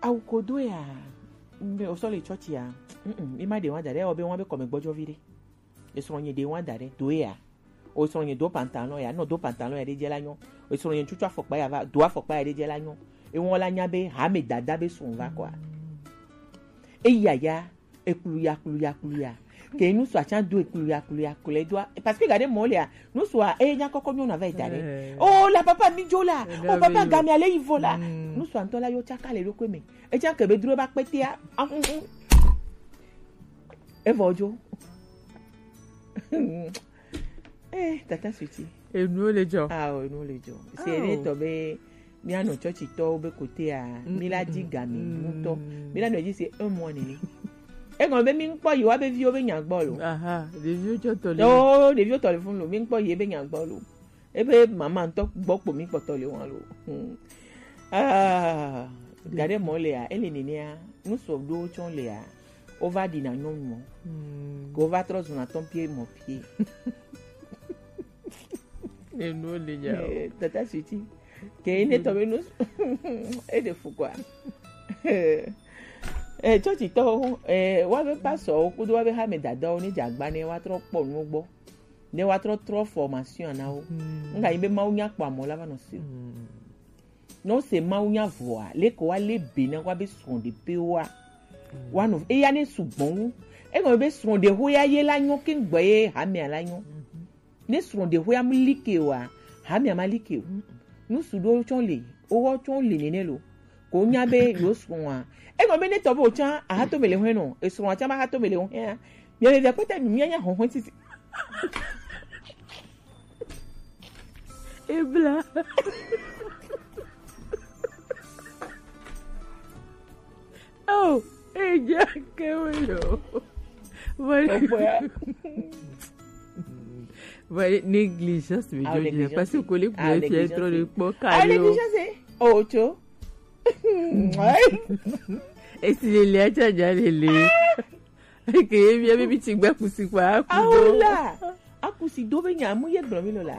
Awu ko do ya. Mbe o sɔ le church ya. Mm, mi ma de wa da ɖe, o be wa be kɔme gbɔjɔ vi ɖe. Esrɔ̃ nye de wa da ɖe, do ya. O srɔ̃ nye do pantalon ya, no do pantalon ya ɖe dze la nyɔ. O srɔ̃ nye tutu afɔkpa ya va, do afɔkpa ya ɖe dze la nyɔ. E wɔn la nya be hame dada be srɔ̃ va kɔa. Eya ya, ekplu ya, kplu ya, kplu ya. Ke nu sua tsa do ekplu ya, kplu ya, kplu ya doa. Parce que gade mɔ lea, nu sua e nya kɔkɔ nyɔna va da ɖe. Eh. Oh, la papa mi jo la. Eh, oh, papa gami ale yi vo la. Mm. Nu sua ŋutɔ la yo tsaka le ɖokui me. E tsa ke be dro ba kpetea. Ah, mm, mm. Evɔ jo. Eh, tata suti. Enuwo le dzɔ. Ah, oh, enuwo le dzɔ. Se ne tɔ be míanɔ tsɔtsitɔwo be kotea, mí la di ga mi ŋutɔ. Mí la nɔ dzi se un mois nene. Egɔme be mí ŋkpɔ yi wa be viwo be nya gbɔ lo. Aha, ɖeviwo tsɔ tɔ le. Oh, ɖeviwo tɔ le fun lo, mí ŋkpɔ yi be nya gbɔ lo. Ebe mama ŋutɔ gbɔ kpo mí kpɔtɔ le wɔn lo. Hmm. Ah, gade mɔ lea, ele nenea, nu sɔ ɖo tsɔ lea, wova ɖina nyɔnu mɔ. Hmm. Ke wova trɔ zuna tɔn pie mɔ pie. Enuwo le nya o. Eh, tata suti. Ke ne tɔ be nu e de fu quoi. Eh, tsɔtsitɔwo, eh, wa be pasɔwo kudo wa be hame dadawo ne dze agba ne wa trɔ kpɔ nu gbɔ. Ne wa trɔ trɔ formation na wo. Hmm. Nga yi be Mawu nya kpɔ amɔ la va nɔ si. Hmm. Ne wose mawunya vɔa, leke woalé be na woabe srɔ̃ɖeƒewoa? Woanɔ eya ne sugbɔ wu. Egɔme be srɔ̃ɖexoya ye la nyɔ keŋ gbɔ ye hamea la nyɔ. Ne srɔ̃ɖexoya mu like oa, hamea ma like o. Nu su ɖewo tsɔ le, wowɔ tsɔ le nene lo. Ko nya be yewo srɔ̃a. Egɔme be ne tɔ be wòtsã ahato me le hɔe nɔ, esrɔ̃a tsã ma hato me le hɔea. Mia le via kpɔtɔ nu mia nya hɔhɔe titi. Ebla. Oh, eja kewe yo. Vale. Vale, négligence, mais ah, je dis, négligence, parce que le ah, groupe est négligence, trop de poids ah, carré. Négligence, eh. Oh, tu. Esi le le acha ja le le. Ke ye bia be mi ti gbe kusi kpa akudo. Aola. Akusi do be nya mu ye gblɔ mi lo la.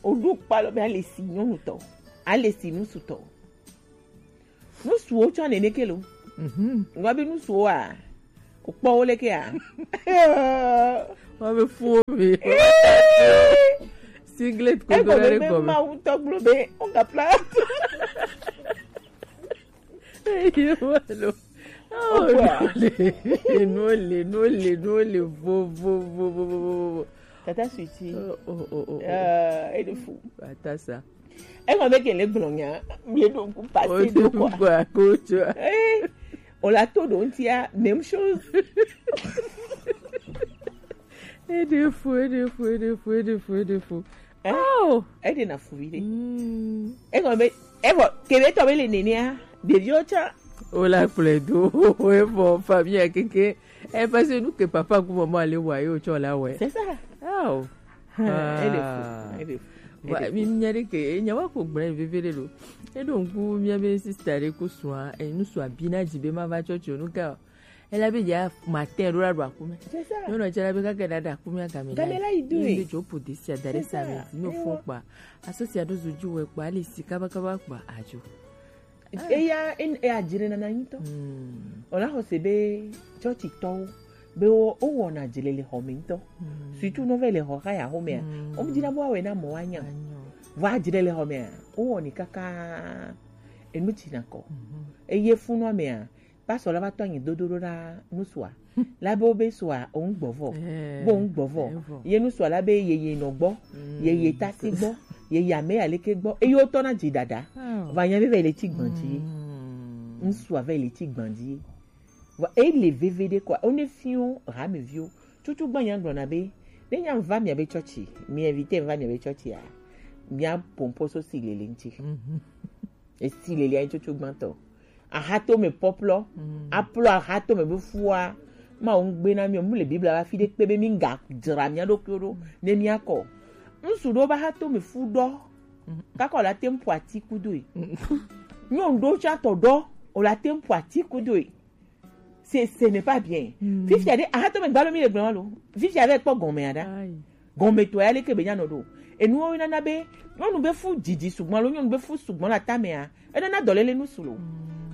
O ɖo kpa lo be ale si nyɔnu tɔ. Ale si ŋutsu tɔ. Ŋutsuwo tsɔ nene ke lo. Mhm. Ngwa be ŋutsuwoa. O kpɔ wo le ke a. Wa be fu wo be. Singlet ko do le ko. Mawu tɔ gblɔ be o ga pla. Eye wa lo. Oh, no le, no le, no le, vo, vo, vo. Tata Switi. Oh, oh, oh, oh, oh. Ah, e de fu. Ata sa. E ma be ke le gblɔ nya, mi do ku passer do quoi. Quoi, ko tu vois. Eh, on l'a tout donc il y a même chose. E de fu, e de fu, e de fu, e de fu, e de fu. Eh? Oh! E de na fu vi de. Mm. E ko be, e bo, ke be to be le nene a, ɖeviwo tsã. O la kplɔe do, e bɔ famille keke. E parce que nu ke papa ku maman ale wa yo tsɔ la wɛ. C'est ça. Oh. Ah, e de fu, e de fu. Wa, mi nya ɖe ke, nya wa ko gblẽ veve ɖe lo. E ɖo ŋku mia be sister ɖe ku sua, e nu sua bi na dzi be ma va tsɔtsi o nu ka. Ela be ya matin ɖo la ɖo akume. C'est ça. Nyɔnu tsɛ la be kaka ɖa ɖa akume agame la. Game la yi do. Ye be dzo po desi ada ɖe sa me. C'est ça. Zi me fɔ kpa. Aso sia ɖo zo ju wɛ kpa, ale si kaba kaba kpa adzo. Eya, en, e adzre nana ŋutɔ. Hmm. O la xɔ se be tsɔtsitɔwo be wo, wo wɔna dzre le xɔ me ŋutɔ. Hmm. Surtout ne wova le xɔ xa ya xɔ mea. Hmm. Wo mu dzina be woawɔe na mɔ woanya. Anyo. Vɔ adzre le xɔ mea, wo wɔnɛ kaka enu dzina kɔ. Mhm. Eye funua mea, Pastor la va tɔ anyi dodo ɖo na nusua. La be wo be sua, o ŋu gbɔ vɔ. Eh, bo ŋu gbɔ vɔ. Eh, vɔ. Ye nusua la be ye, ye nɔ gbɔ. Mm. Ye, ye tasi gbɔ. Ye, ye ame ya leke gbɔ. Eye wo tɔ na dzi dada. Oh. Va nya be va yi le tsi gbɔn dzi. Mm. Nusua va yi le tsi gbɔn dzi. Va, e le veve ɖe kɔ. O ne fiɔ, ha me viwo. Tutu gba nya gblɔ na be, ne nya va mia be tsɔtsi, mi invite va mia be tsɔtsi a, mia pompo so si le le ŋtsi. Mhm. Esi le lia tsotso gbãtɔ. Ahatome pɔplɔ. Aplɔ ahatome be fua. Ma wo ŋgbe na mi, mu le Biblia va fi ɖe kpe be mi ŋga dzra mia ɖokuiwo ɖo ne mia kɔ. Ŋsu ɖewo be ahatome fu ɖɔ. Kaka wo la te ŋu ƒo ati kudoe. Nyɔnu ɖewo tsã tɔ ɖɔ, wo la te ŋu ƒo ati kudoe. C'est, ce n'est pas bien. Fifia ɖe, ahatome gbalo mi le gblɔm lo. Fifia ɖe kpɔ gɔmea ɖa. Gɔmetɔ ya leke be nyanɔ ɖo. Enuwo nana be nyɔnu be fu didi sugbɔn alo nyɔnu be fu sugbɔn le atamea, enana dɔlele nusu lo.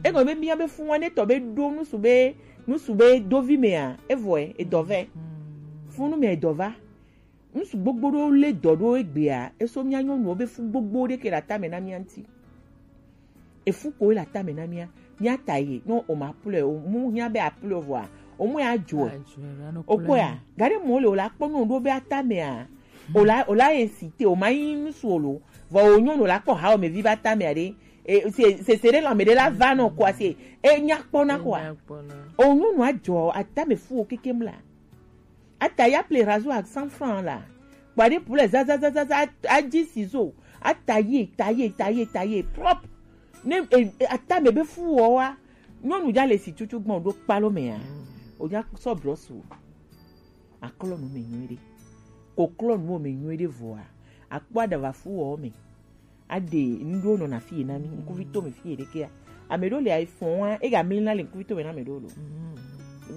Egɔme be mia be fu wane tɔ be ɖo nusu be, nusu be dovi mea, evɔe, edɔ vɛ. Funu mea edɔ va. Ŋsu gbogbo ɖewo lé dɔ ɖo egbea, eso mía nyɔnuwo be fu gbogbo ɖe ke le atame na mía ŋuti. Efu ko le atame na mía, mía ta ye, no o ma pleure, o mu hiã be a pleure vɔa, o mu ya dzɔe. O kpɔe a, gaɖe mɔ le o la kpɔ nyɔnu ɖewo be atamea, o la, o la incite, o ma yi ŋsu o lo, vɔ o nyɔnu o la kpɔ ha o me vi be atamea ɖe, e, se, se, se ɖe lãme ɖe la va nɔ kɔa se, e nya kpɔ na kɔa. O nyɔnu a dzɔ, atame fu o kekem la. Ata ya ple rasoir à cent francs la. Kpa ɖe pu le za, za, za, za, za, a dzi ciseau. A tailler, tailler, tailler, tailler, propre. Ne, e, e, atame be fu wɔ wa. Nyɔnu ja le si tutu gbɔn ɖo kpalo mea. O ja sɔ brosse o. A klɔ nu me nyuie ɖe. Ko klɔ nu me nyuie ɖe vɔa. A kpɔ aɖava fu wɔ me. Aɖe nuɖewo nɔna fie na mí, ŋkuvi to me fie ɖekea. Ame ɖewo le ayi fɔn wa, ega mli na le ŋkuvi to me na ame ɖewo lo.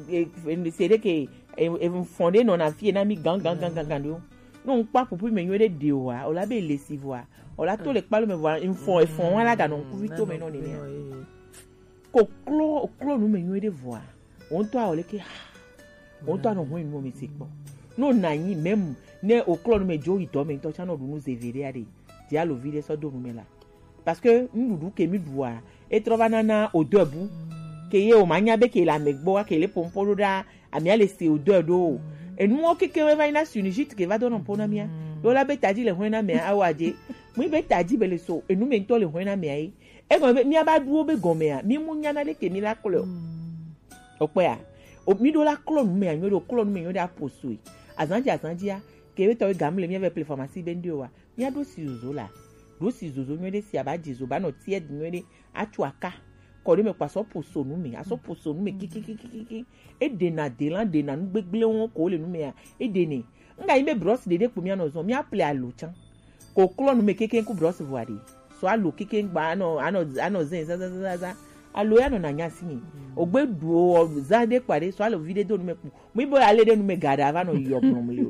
E, e, se ɖeke, e, e, fɔn ɖe nɔna fie na mí gan, gan, gan, gan, gan ɖewo. No ŋkpɔ apupu me nyuie ɖe ɖe o wa, o la be le si vɔa, o la to le kpalo me vɔa, fɔn, fɔn wa la ga nɔ ŋkuvi to me nɔ nenea. Ko klɔ, klɔ nu me nyuie ɖe vɔa. Wo ŋutɔ awɔ leke ha. Wo ŋutɔ anɔ hɔn nu mi se kpɔ. No na anyi même ne o klɔ nu me dzo yi dɔ me ŋutɔ tsã nɔ ɖu nu zeve ɖe aɖe. Dzi alo vi ɖe sɔ do nu me la. Parce que nuɖuɖu ke mi ɖua, e trɔ va nana odeur bu. Ke ye o ma nya be ke le ame gbɔ, ke le pompo ɖo ɖa, amia le se odeur ɖo. Enuwo keke we va yi na sinusite ke va do nɔ po na mia. Ɖo la be tadzi le hɔn na mea, awa dze. Mu be tadzi be le so, enu me ŋutɔ le hɔn na mea ye. Egɔme be mía ba ɖuwo be gɔmea, mí mu nyana ɖeke mí la klɔe o. Okpɔe a? O, mí ɖo la klɔ nu me a nyuie ɖe, o klɔ nu me nyuie ɖe a posoe. Azan dzi azan dzia, ke be tɔ be gamle mía vɛ ple pharmacie be ŋɖe o wa. Mía ɖo si zozo la. Ɖo si zozo nyuie ɖe si a ba dzi zo ba nɔ tiɛ ɖi nyuie ɖe. A tso aka. Kɔ ɖe me kpa sɔ poso nu me, a sɔ poso nu me kikikikiki. E ɖena delan ɖena nu gbegble wo ko le nu me a. E ɖenɛ. Ŋga yi be brosse ɖeɖe kpo mía nɔ zɔn, mía ple alo tsã. Ko klɔ nu me keke ku brosse vɔ aɖe. Sɔ alo keke gba anɔ, anɔ, anɔ zɛn za, za, za, za, za. Alo ya nɔ na nya si mi. Ogbe ɖu o, za ɖe kpa ɖe, sɔ alo vi ɖe do nu me kpo. Mi bo ale ɖe nu me ga ɖe ava nɔ yɔ gblɔm le o.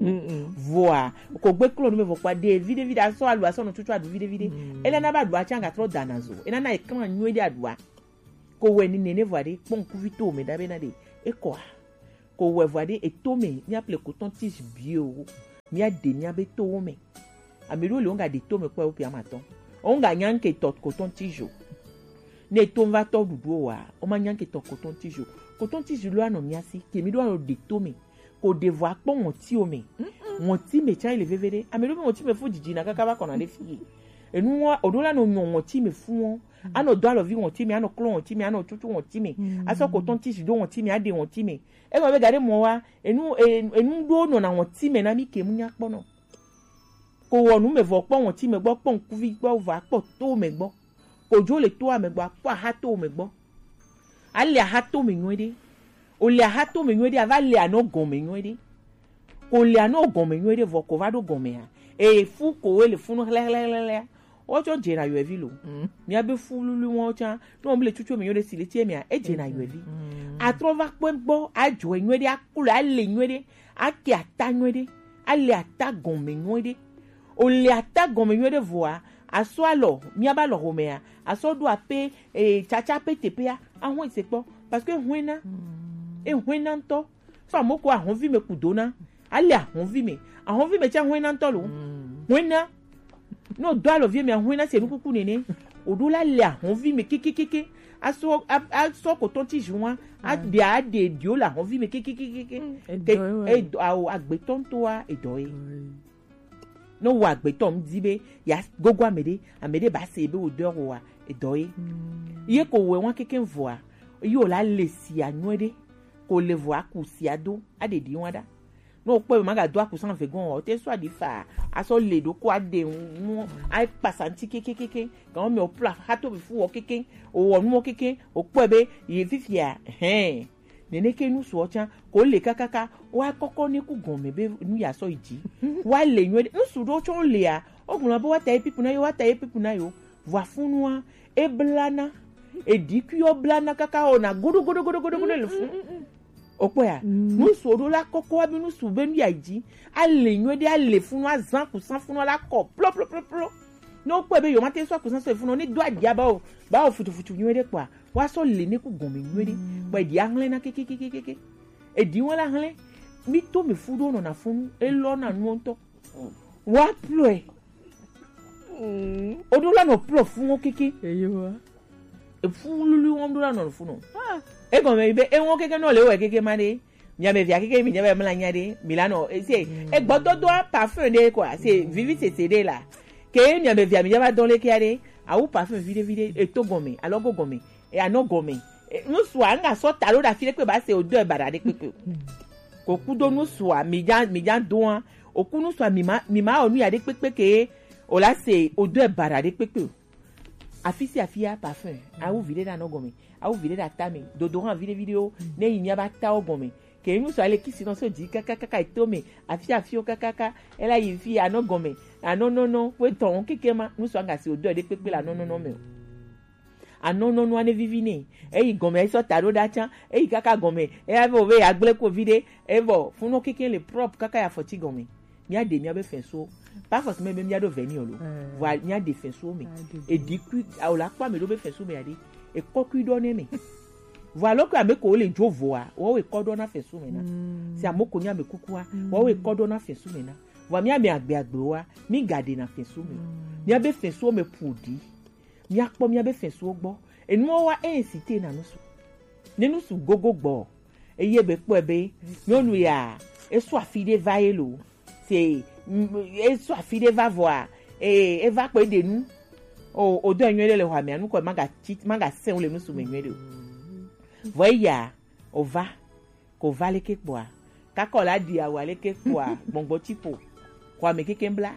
Vɔa, ko gbe klɔ nu me vɔ kpa ɖe, vi ɖe, vi ɖe, asɔ alo, asɔ nɔ tutu aɖu vi ɖe, vi ɖe. Ele na ba ɖu atsã ga trɔ dana zo. Ena na eklan nyuie ɖe aɖua. Ko wɛ ni nene vɔ aɖe, kpɔ ŋkuvi to me ɖa be na ɖe. Ekɔa. Ko wɛ vɔ aɖe, eto me, mía ple coton tige bio. Mía ɖe mía be towo me. Ame ɖewo le wo ŋga ɖe to me kpɔ wo pia ma tɔ. Wo ŋga nya ŋke tɔ coton tige o. Ne to va tɔ ɖuɖu wa, wo ma nya ŋke tɔ coton tige o. Coton tige lo anɔ mía si, ke mi ɖo anɔ ɖe to me. Ko ɖe vɔ akpɔ ŋɔti o me. Ŋɔti me tsa le veve ɖe. Ame ɖewo be ŋɔti me fu didi na kaka va kɔna ɖe fi. Enu wa, o ɖo la nɔ nyɔ ŋɔti me fu wo. Anɔ do alɔvi ŋɔti me, anɔ klɔ ŋɔti me, anɔ tutu ŋɔti me. Asɔ coton tige do ŋɔti me, aɖe ŋɔti me. Egɔme be gaɖe mɔ wa, enu, e-, enu ɖo nɔna ŋɔti me na mi ke mu nya kpɔ nɔ. Ko wɔ nu me vɔ kpɔ ŋɔti me gbɔ, kpɔ ŋkuvi gbɔ, vɔ akpɔ to me gbɔ. Ko dzo le toa me gbɔ, akpɔ aha to me gbɔ. Ale aha to me nyuie ɖe. O le aha to me nyuie ɖe, ava le anɔ gɔme nyuie ɖe. Ko le anɔ gɔme nyuie ɖe, vɔ ko va ɖo gɔmea. E fu ko we le funu hlɛhlɛhlɛhlɛ. Wotsɔ dzena yɔevi lo. Mía be fululu wɔn tsã, ne wɔn le tsutsu me nyuie ɖe si le tie mea, e dzena yɔevi. Atrɔ va kpɔe gbɔ, adzɔe nyuie ɖe, aklɔe, ale nyuie ɖe, ake ata nyuie ɖe, ale ata gɔme nyuie ɖe. O le ata gɔme nyuie ɖe vɔa, asɔ alɔ, mía ba lɔ homea, asɔ ɖo ape, e, tsatsa pe teƒea, ahɔn se kpɔ, parce que ehɔn na, ehɔn na ŋutɔ. Sɔ amewo ko ahɔnvi me ku do na. Ale ahɔnvi me. Ahɔnvi me tsã hɔn na ŋutɔ lo. Hɔn na. Ne o do alɔvi me ahɔn na se nukuku nene. O ɖo la le ahɔnvi me kekekeke. Asɔ, a-, asɔ coton tige wa. Aɖe, aɖe ɖio le ahɔnvi me kekekeke. Edɔ ye. Edɔ, awo, agbetɔ ŋutɔa, edɔ ye. Ne wò agbetɔ ŋdi be ya gogo ame ɖe, ame ɖe ba se be wò dɔ wa, edɔ ye. Ye ko wɔ wa keke vɔa, ye o la le sia nyuie ɖe, ko le vɔa ku sia do, aɖe ɖi wa ɖa. Ne o kpɔe be ma ga do akusan ve gɔn o, o te sɔ aɖi fa, a sɔ le ɖo ko a ɖe nu, a kpasa ŋuti kekekeke. Gan me o pla ha to be fu wɔ keke, o wɔ nu wɔ keke, o kpɔe be ye fifia, hɛn. Nene ke nusu o tsan, ko le kakaka, wa kɔkɔ ne ku gɔme be nu ya sɔ yi dzi. Wa le nyuie ɖe, nusu ɖo tsɔ lea, o gblɔ be wa ta ye pipu na yo, wa ta ye pipu na yo. Vɔa funua, e blana, e ɖi kui o blana kaka o na godo godo godo godo godo le fun. O kpɔe ya? Nusu ɖo la kɔkɔ wa be nusu be nu ya dzi. A le nyuie ɖe, a le funu, a zan kusan funu la kɔ plo plo plo plo. Ne o kpɔe be yo ma te sɔ kusan sɔ funu, ne do adia ba o, ba o futu futu nyuie ɖe kpɔa, wa sɔ le ne ku gɔme nyuie ɖe. Kpɔe ɖi a hlɛ na kekekekeke. E ɖi wa la hlɛ. Mi to mi fu ɖo nɔ na funu, e lɔ na nu ŋutɔ. Wa ploe. O ɖo la nɔ plo funu keke. Eyo wa. Efu lulu wɔm ɖo la nɔ funu. E gɔme be e wɔn keke nɔ le wɔ keke ma ɖe. Mia be via keke mi nya be mla nya ɖe, mi la nɔ, e se, e gbɔdɔdɔa parfum ɖe quoi, se vivi sese ɖe la. Ke mia be via mi nya ba dɔn le kia ɖe, awu parfum vi ɖe vi ɖe, e to gɔme, alɔgo gɔme, e anɔ gɔme. E, nusua, nga sɔ ta ɖo ɖa fi ɖe kpe ba se o do e baɖa ɖe kpekpe. Ko kudo nusua, mi ja, mi ja doa, o ku nusua, mi ma, mi ma o nu ya ɖe kpekpe ke, o la se o do e baɖa ɖe kpekpe o. Afi sia afi ya parfum, awu vi ɖe ɖa nɔ gɔme, awu vi ɖe ɖa ta me, dodo hã vi ɖe vi ɖewo, ne yi mia ba ta wo gɔme. Ke nu sɔ ale kisi nɔ so dzi kaka kaka eto me, afi afi wo kaka kaka, ela yi fi anɔ gɔme, anɔ nɔnɔ, wo etɔn wo keke ma, nu sɔ aga si o do ɖe kpekpe le anɔ nɔnɔ me o. Anɔ nɔnɔ ane vivi ne, eyi gɔme esɔ ta ɖo ɖa tsan, eyi kaka gɔme, eya be o be ya gble ko vi ɖe, evɔ funɔ keke le propre kaka ya fɔti gɔme. Mia ɖe mia be fɛnsuwo. Pas forcément be mia ɖo vɛ ni o lo. Vɔa mia ɖe fɛnsuwo me. Eɖi kui, o la kpɔ ame ɖo be fɛnsu me ya ɖe. Ekɔ kui ɖɔ ne me. Vɔa lɔ kui ame ko le dzo voa, wo ekɔ ɖɔ na fɛnsu me na. Si ame ko nya ame kukua, wo ekɔ ɖɔ na fɛnsu me na. Vɔa mia ame agbe agbewoa, mi ga ɖe na fɛnsu me. Mia be fɛnsuwo me pu ɖi. Mia kpɔ mia be fɛnsuwo gbɔ. Enuwo wa e incite na nusu. Ne nusu gogo gbɔ, eye be kpɔe be nyɔnu ya, esɔ afi ɖe va ye lo. Se, mm, esɔ afi ɖe va vɔa, e, eva kpɔ eɖe nu. O, o do nyuie ɖe le xɔa mea, nukɔ maga tsi, maga sɛn o le nusu me nyuie ɖe o. Vɔ eya, o va, ko va leke kpɔa, kakɔ la ɖi awu leke kpɔa, gbɔngbɔ tsi ƒo, xɔa me keke bla.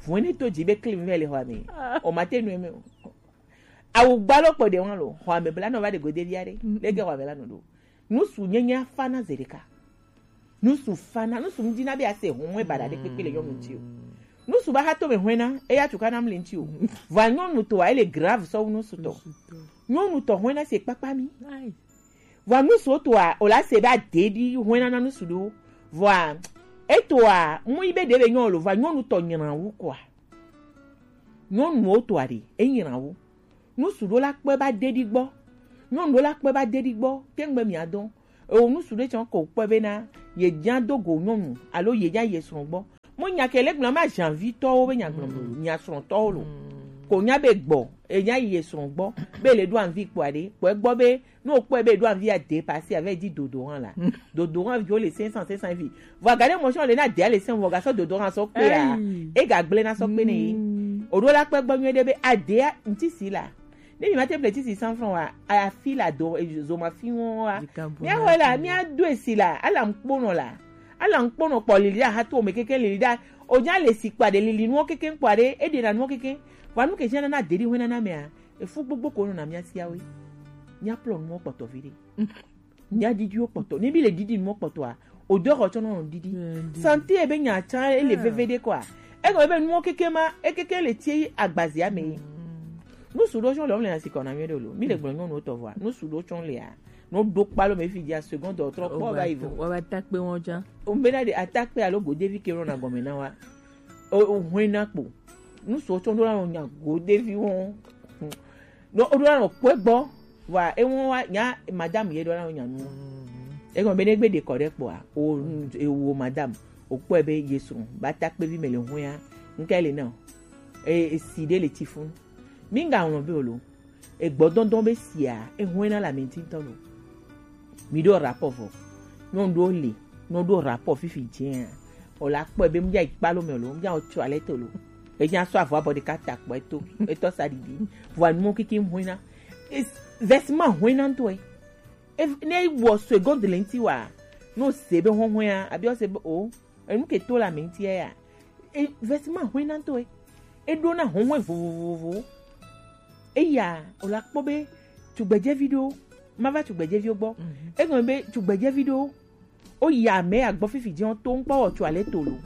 Vɔe ne to dzi be klim vɛ le xɔa me, o ma te nu eme o. Awu gba lo kpɔ ɖe wan lo, xɔa me bla nɔ va ɖe gode via ɖe, leke xɔa me la nɔ ɖo. Nusu nyenye afana zeɖeka. Nusu fana, nusu ŋdi na be ase hɔn e baɖa ɖe kpekpe le nyɔnu ŋti o. Nusu ba ha to me hɔn na, eya tuka na mli ŋti o. Vɔa nyɔnu tɔa ele grave sɔ wu nusu tɔ. Nyɔnu tɔ hɔn na se kpakpa mi. Vɔa nusu tɔa o la se be ade ɖi hɔn na nusu ɖo. Vɔa etɔa mu yi be ɖe be nyɔ lo, vɔa nyɔnu tɔ nyina wu kɔa. Nyɔnuwo tɔa ɖe, e nyina wu. Nusu ɖo la kpɔe ba de ɖi gbɔ. Nyɔnu ɖo la kpɔe ba de ɖi gbɔ. Tɛŋgbe mia dɔn. Ewo nusu ɖe tsɔ ko kpɔe be na ye nya do go nyɔnu alo ye nya ye srɔ̃ gbɔ. Mo nya ke le gblɔ ma janvi tɔwo be nya gblɔ nya srɔ̃ tɔwo lo. Ko nya be gbɔ, e nya ye srɔ̃ gbɔ be le ɖo anvi kpɔa ɖe. Kpɔe gbɔ be ne o kpɔe be ɖo anvi a dépasser avec di dodo hã la. Dodo hã vi o le cinq cents, cinq cents vi. Vɔ aga ɖe mɔ sɔ le na de le cinq vɔ ga sɔ dodo hã sɔ kpe ya. E ga gble na sɔ kpe ne ye. O ɖo la kpɔe gbɔ nyuie ɖe be a de a ŋti si la. Ne mi ma te ble tisi cent francs wa, afi la do, e, zoma fi wo wa. Mia xɔ la, mia do esi la, ala ŋkponɔ la. Ala ŋkponɔ kpɔ lili ɖa, ha to me keke lili ɖa. O nya le si kpa ɖe lili nuwo keke kpa ɖe, e ɖe na nuwo keke. Wa nu ke sia na na de ɖi hwe na na mea, efu gbogbo ko nɔ na mia sia we. Mia plɔ nuwo kpɔtɔ vi ɖe. Mia ɖiɖiwo kpɔtɔ. Ne mi le ɖiɖi nuwo kpɔtɔa, odeur xɔ tsɔ nɔ ɖiɖi. Santé ebe nya tsã ele veve ɖe kɔa. Egɔme be nuwo keke ma, ekeke le tie agbazia me. Nusu ɖo tsɔ le wo le asi kɔ na mi ɖo lo. Mi le gblɔ nyɔnuwo tɔ vɔa. Nusu ɖo tsɔ lea. No ɖo kpalo me fi dia seconde trɔ kpɔ va yi vɔ. Wa ba takpe wo tsã. O be na de atakpe alo godevi ke nɔ na gɔme na wa. O, o hwe na kpo. Nusu tsɔ ɖo la nya godevi wo. No, o ɖo la nɔ kpɔe gbɔ. Vɔa, ewo wa, nya, madame ye ɖo la nɔ nya nu. Egɔme be ne gbe ɖe kɔ ɖe kpɔa, o, e wo madame, o kpɔe be ye srɔ̃, ba takpevi me le hwea, ŋke le na o. E, e si ɖe le tsi fun. Mi ŋga ŋlɔ be o lo. E gbɔdɔdɔ be sia, e hwɛ na la me ŋti ŋtɔ lo. Mi ɖo rapport vɔ. Nyɔnu ɖo le, nyɔnu ɖo rapport fifi dzia. O la kpɔe be mi dza yi kpalo me lo, mi dza o tsɔ alɛ to lo. E dza sɔ avɔ abɔ ɖeka ta kpɔ eto, etɔ sa ɖiɖi. Vɔa nuwo keke hwena. Es-, vêtement hwena ŋtɔe. E, ne wɔ seconde le ŋti wa, Ne o se be hɔnhɔn ya, abi o se be o, enu ke to la me ŋuti ya, e, vɛsima hɔn na to e. E ɖo na hɔnhɔn vovovovo. Eya, o la kpɔ be tugbedzevi ɖewo, ma va tugbedzeviwo gbɔ. Egɔme be tugbedzevi ɖewo, o yi ame agbɔ fifi dzi, o to ŋkpɔ wɔ tso ale to lo.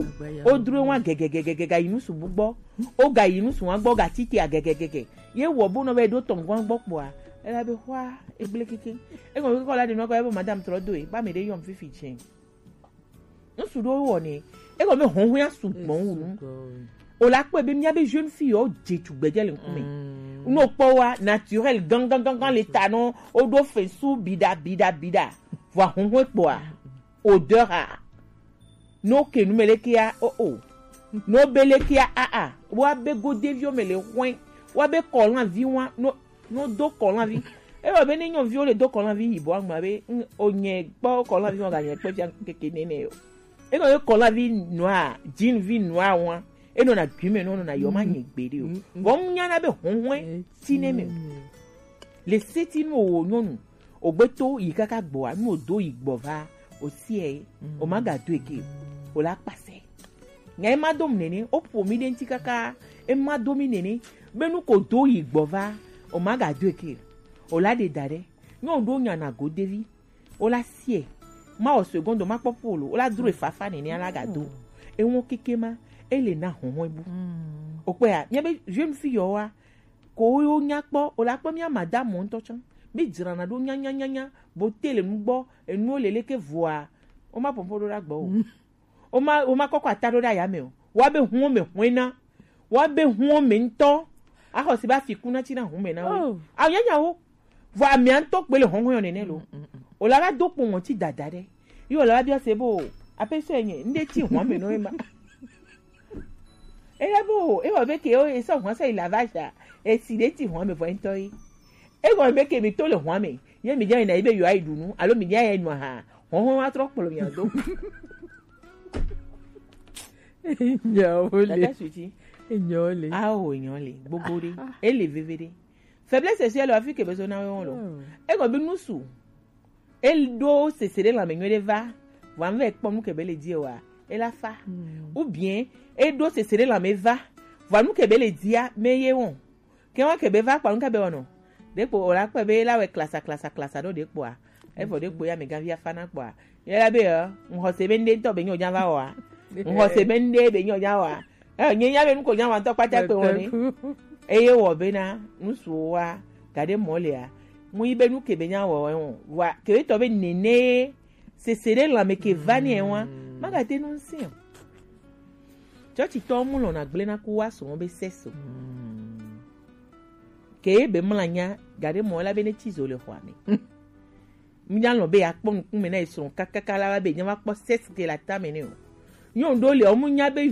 O dro wa gɛgɛgɛgɛ ga yi nusu bu gbɔ. O ga yi nusu wa gbɔ ga titi a gɛgɛgɛgɛ. Ye wɔ bo nɔ be ɖo tɔngɔn gbɔ kpɔa. Ela be xɔa egble keke. Egɔme be kɔ la ɖe nɔ kɔ ebe madame trɔ do e. Ba me ɖe yɔm fifi dzi. Nusu ɖo wɔ ne. Egɔme be hɔnhɔn ya su gbɔn wu nu. O la kpɔe be mía be jeune fille yewo dze tugbedze le ŋkume. Ne o kpɔ wa naturel gangan gangan le ta nɔ, o ɖo fesu biɖa biɖa biɖa. Vɔ ahɔnhɔn kpɔa, odeur a. Ne o ke nu me leke ya, o o. Ne o be leke ya, a a. Wa be godeviwo me le hɔn. Wa be kɔlanvi wa, no no do kɔlanvi. Ewɔ be ne nyɔnuviwo le do kɔlanvi yibɔ agba be, mm, o nye kpɔ kɔlanvi wa ga nye kpɔ fia keke nene yo. Enɔ ye kɔlanvi nua, jean vi nua wa. Enɔ na gbi me no na yɔ ma nye gbe de o. Vɔ mu nya na be hɔnhɔn ti ne me o. Le seti nu o nyɔnu. O gbe to yi kaka gbɔa, nu o do yi gbɔ va, o sie, o ma ga do eke, o la kpase. Nya e ma do mi nene, o ƒo mi ɖe ŋuti kaka, e ma do mi nene, be nu ko do yi gbɔ va, o ma ga do eke, o la ɖe da ɖe. Nyɔnu ɖo nya na godevi, o la sie, ma wɔ seconde, ma kpɔ polo, o la dro e fafa nene, a la ga do. Ewo keke ma, e le na hɔnhɔn bu. O kpɔa, mía be jeune fille yewoa, ko wo nya kpɔ, o la kpɔ mía madame ŋutɔ tsã. Mi dzrana ɖo nyanyanyanya, bo te le nugbɔ, enuwo le leke vɔa, wo ma pɔnpɔn ɖo ɖe agbɔ o. Wo ma, wo ma kɔkɔ ata ɖo ɖe aya me o. Wa be huo me huena. Wa be huo me ŋutɔ. Axɔ si ba fi kuna tsi na hu me na wo. Awo nyanya wo. Vɔ amea ŋutɔ kpe le hɔnhɔn yɔ nene lo. O la va do kpo ŋɔti dada ɖe. Yi o la va bia se bo, ape so enye, nde tsi hɔn me no ema. Eya bo, e wɔ be ke o, e sɔ hɔn sɔ yi la va ja, e si ɖe tsi hɔn me vɔ ŋutɔ yi. E gɔme be ke mi to le hɔn me, ye mi dza yina yi be yewoa yi ɖu nu, alo mi dza yi nu aha, hɔnhɔn wa trɔ kplɔ mia do. Nyawo le. Tata Sweety. Nyawo le. Awo nyawo le, gbogbo ɖe, e le veve ɖe. Faiblesse sexuelle, afi ke be so na wo lo. E gɔme be nusu. E ɖo sese ɖe lãme nyuie ɖe va, vɔa nu vɛ kpɔ nu ke be le di wa, e la fa. Ou bien, e ɖo sese ɖe lãme va, vɔa nu ke be le dia, me ye wɔn. Ke wɔn ke be va kpɔ nu ke be wɔnɔ. Ɖekpo o la kpɔe be la wɛ klasa, klasa, klasa ɖo ɖekpoa. Evɔ ɖekpo ya me gavi afa na kpɔa. Ye la be, ɛ, ŋxɔ se be ŋɖe ŋutɔ be nyɔ dza va wɔa. Ŋxɔ se be ŋɖe be nyɔ dza wɔa. Ɛ, nye nya be nu ko nya wa ŋutɔ kpata kpe wɔn ne. Eye wɔ bena, nusu wa, ga ɖe mɔ lea, mu yi be nu ke be nya wɔ wɔn, wa, ke be tɔ be nene, sese ɖe lãme ke va ne wa, ma ga te nu ŋsi o. Tsɔtsi tɔ mu lɔna gblẽ na ku wa sɔ be seso. Ke be mla nya, ga ɖe mɔ la be ne tsi zo le xɔa me. Mínya lɔ̃ be yeakpɔ ŋkume na ye srɔ̃ kakaka la va be yeava kpɔ sexe le atame nɛ o. Nyɔnu ɖewo le, womu nya be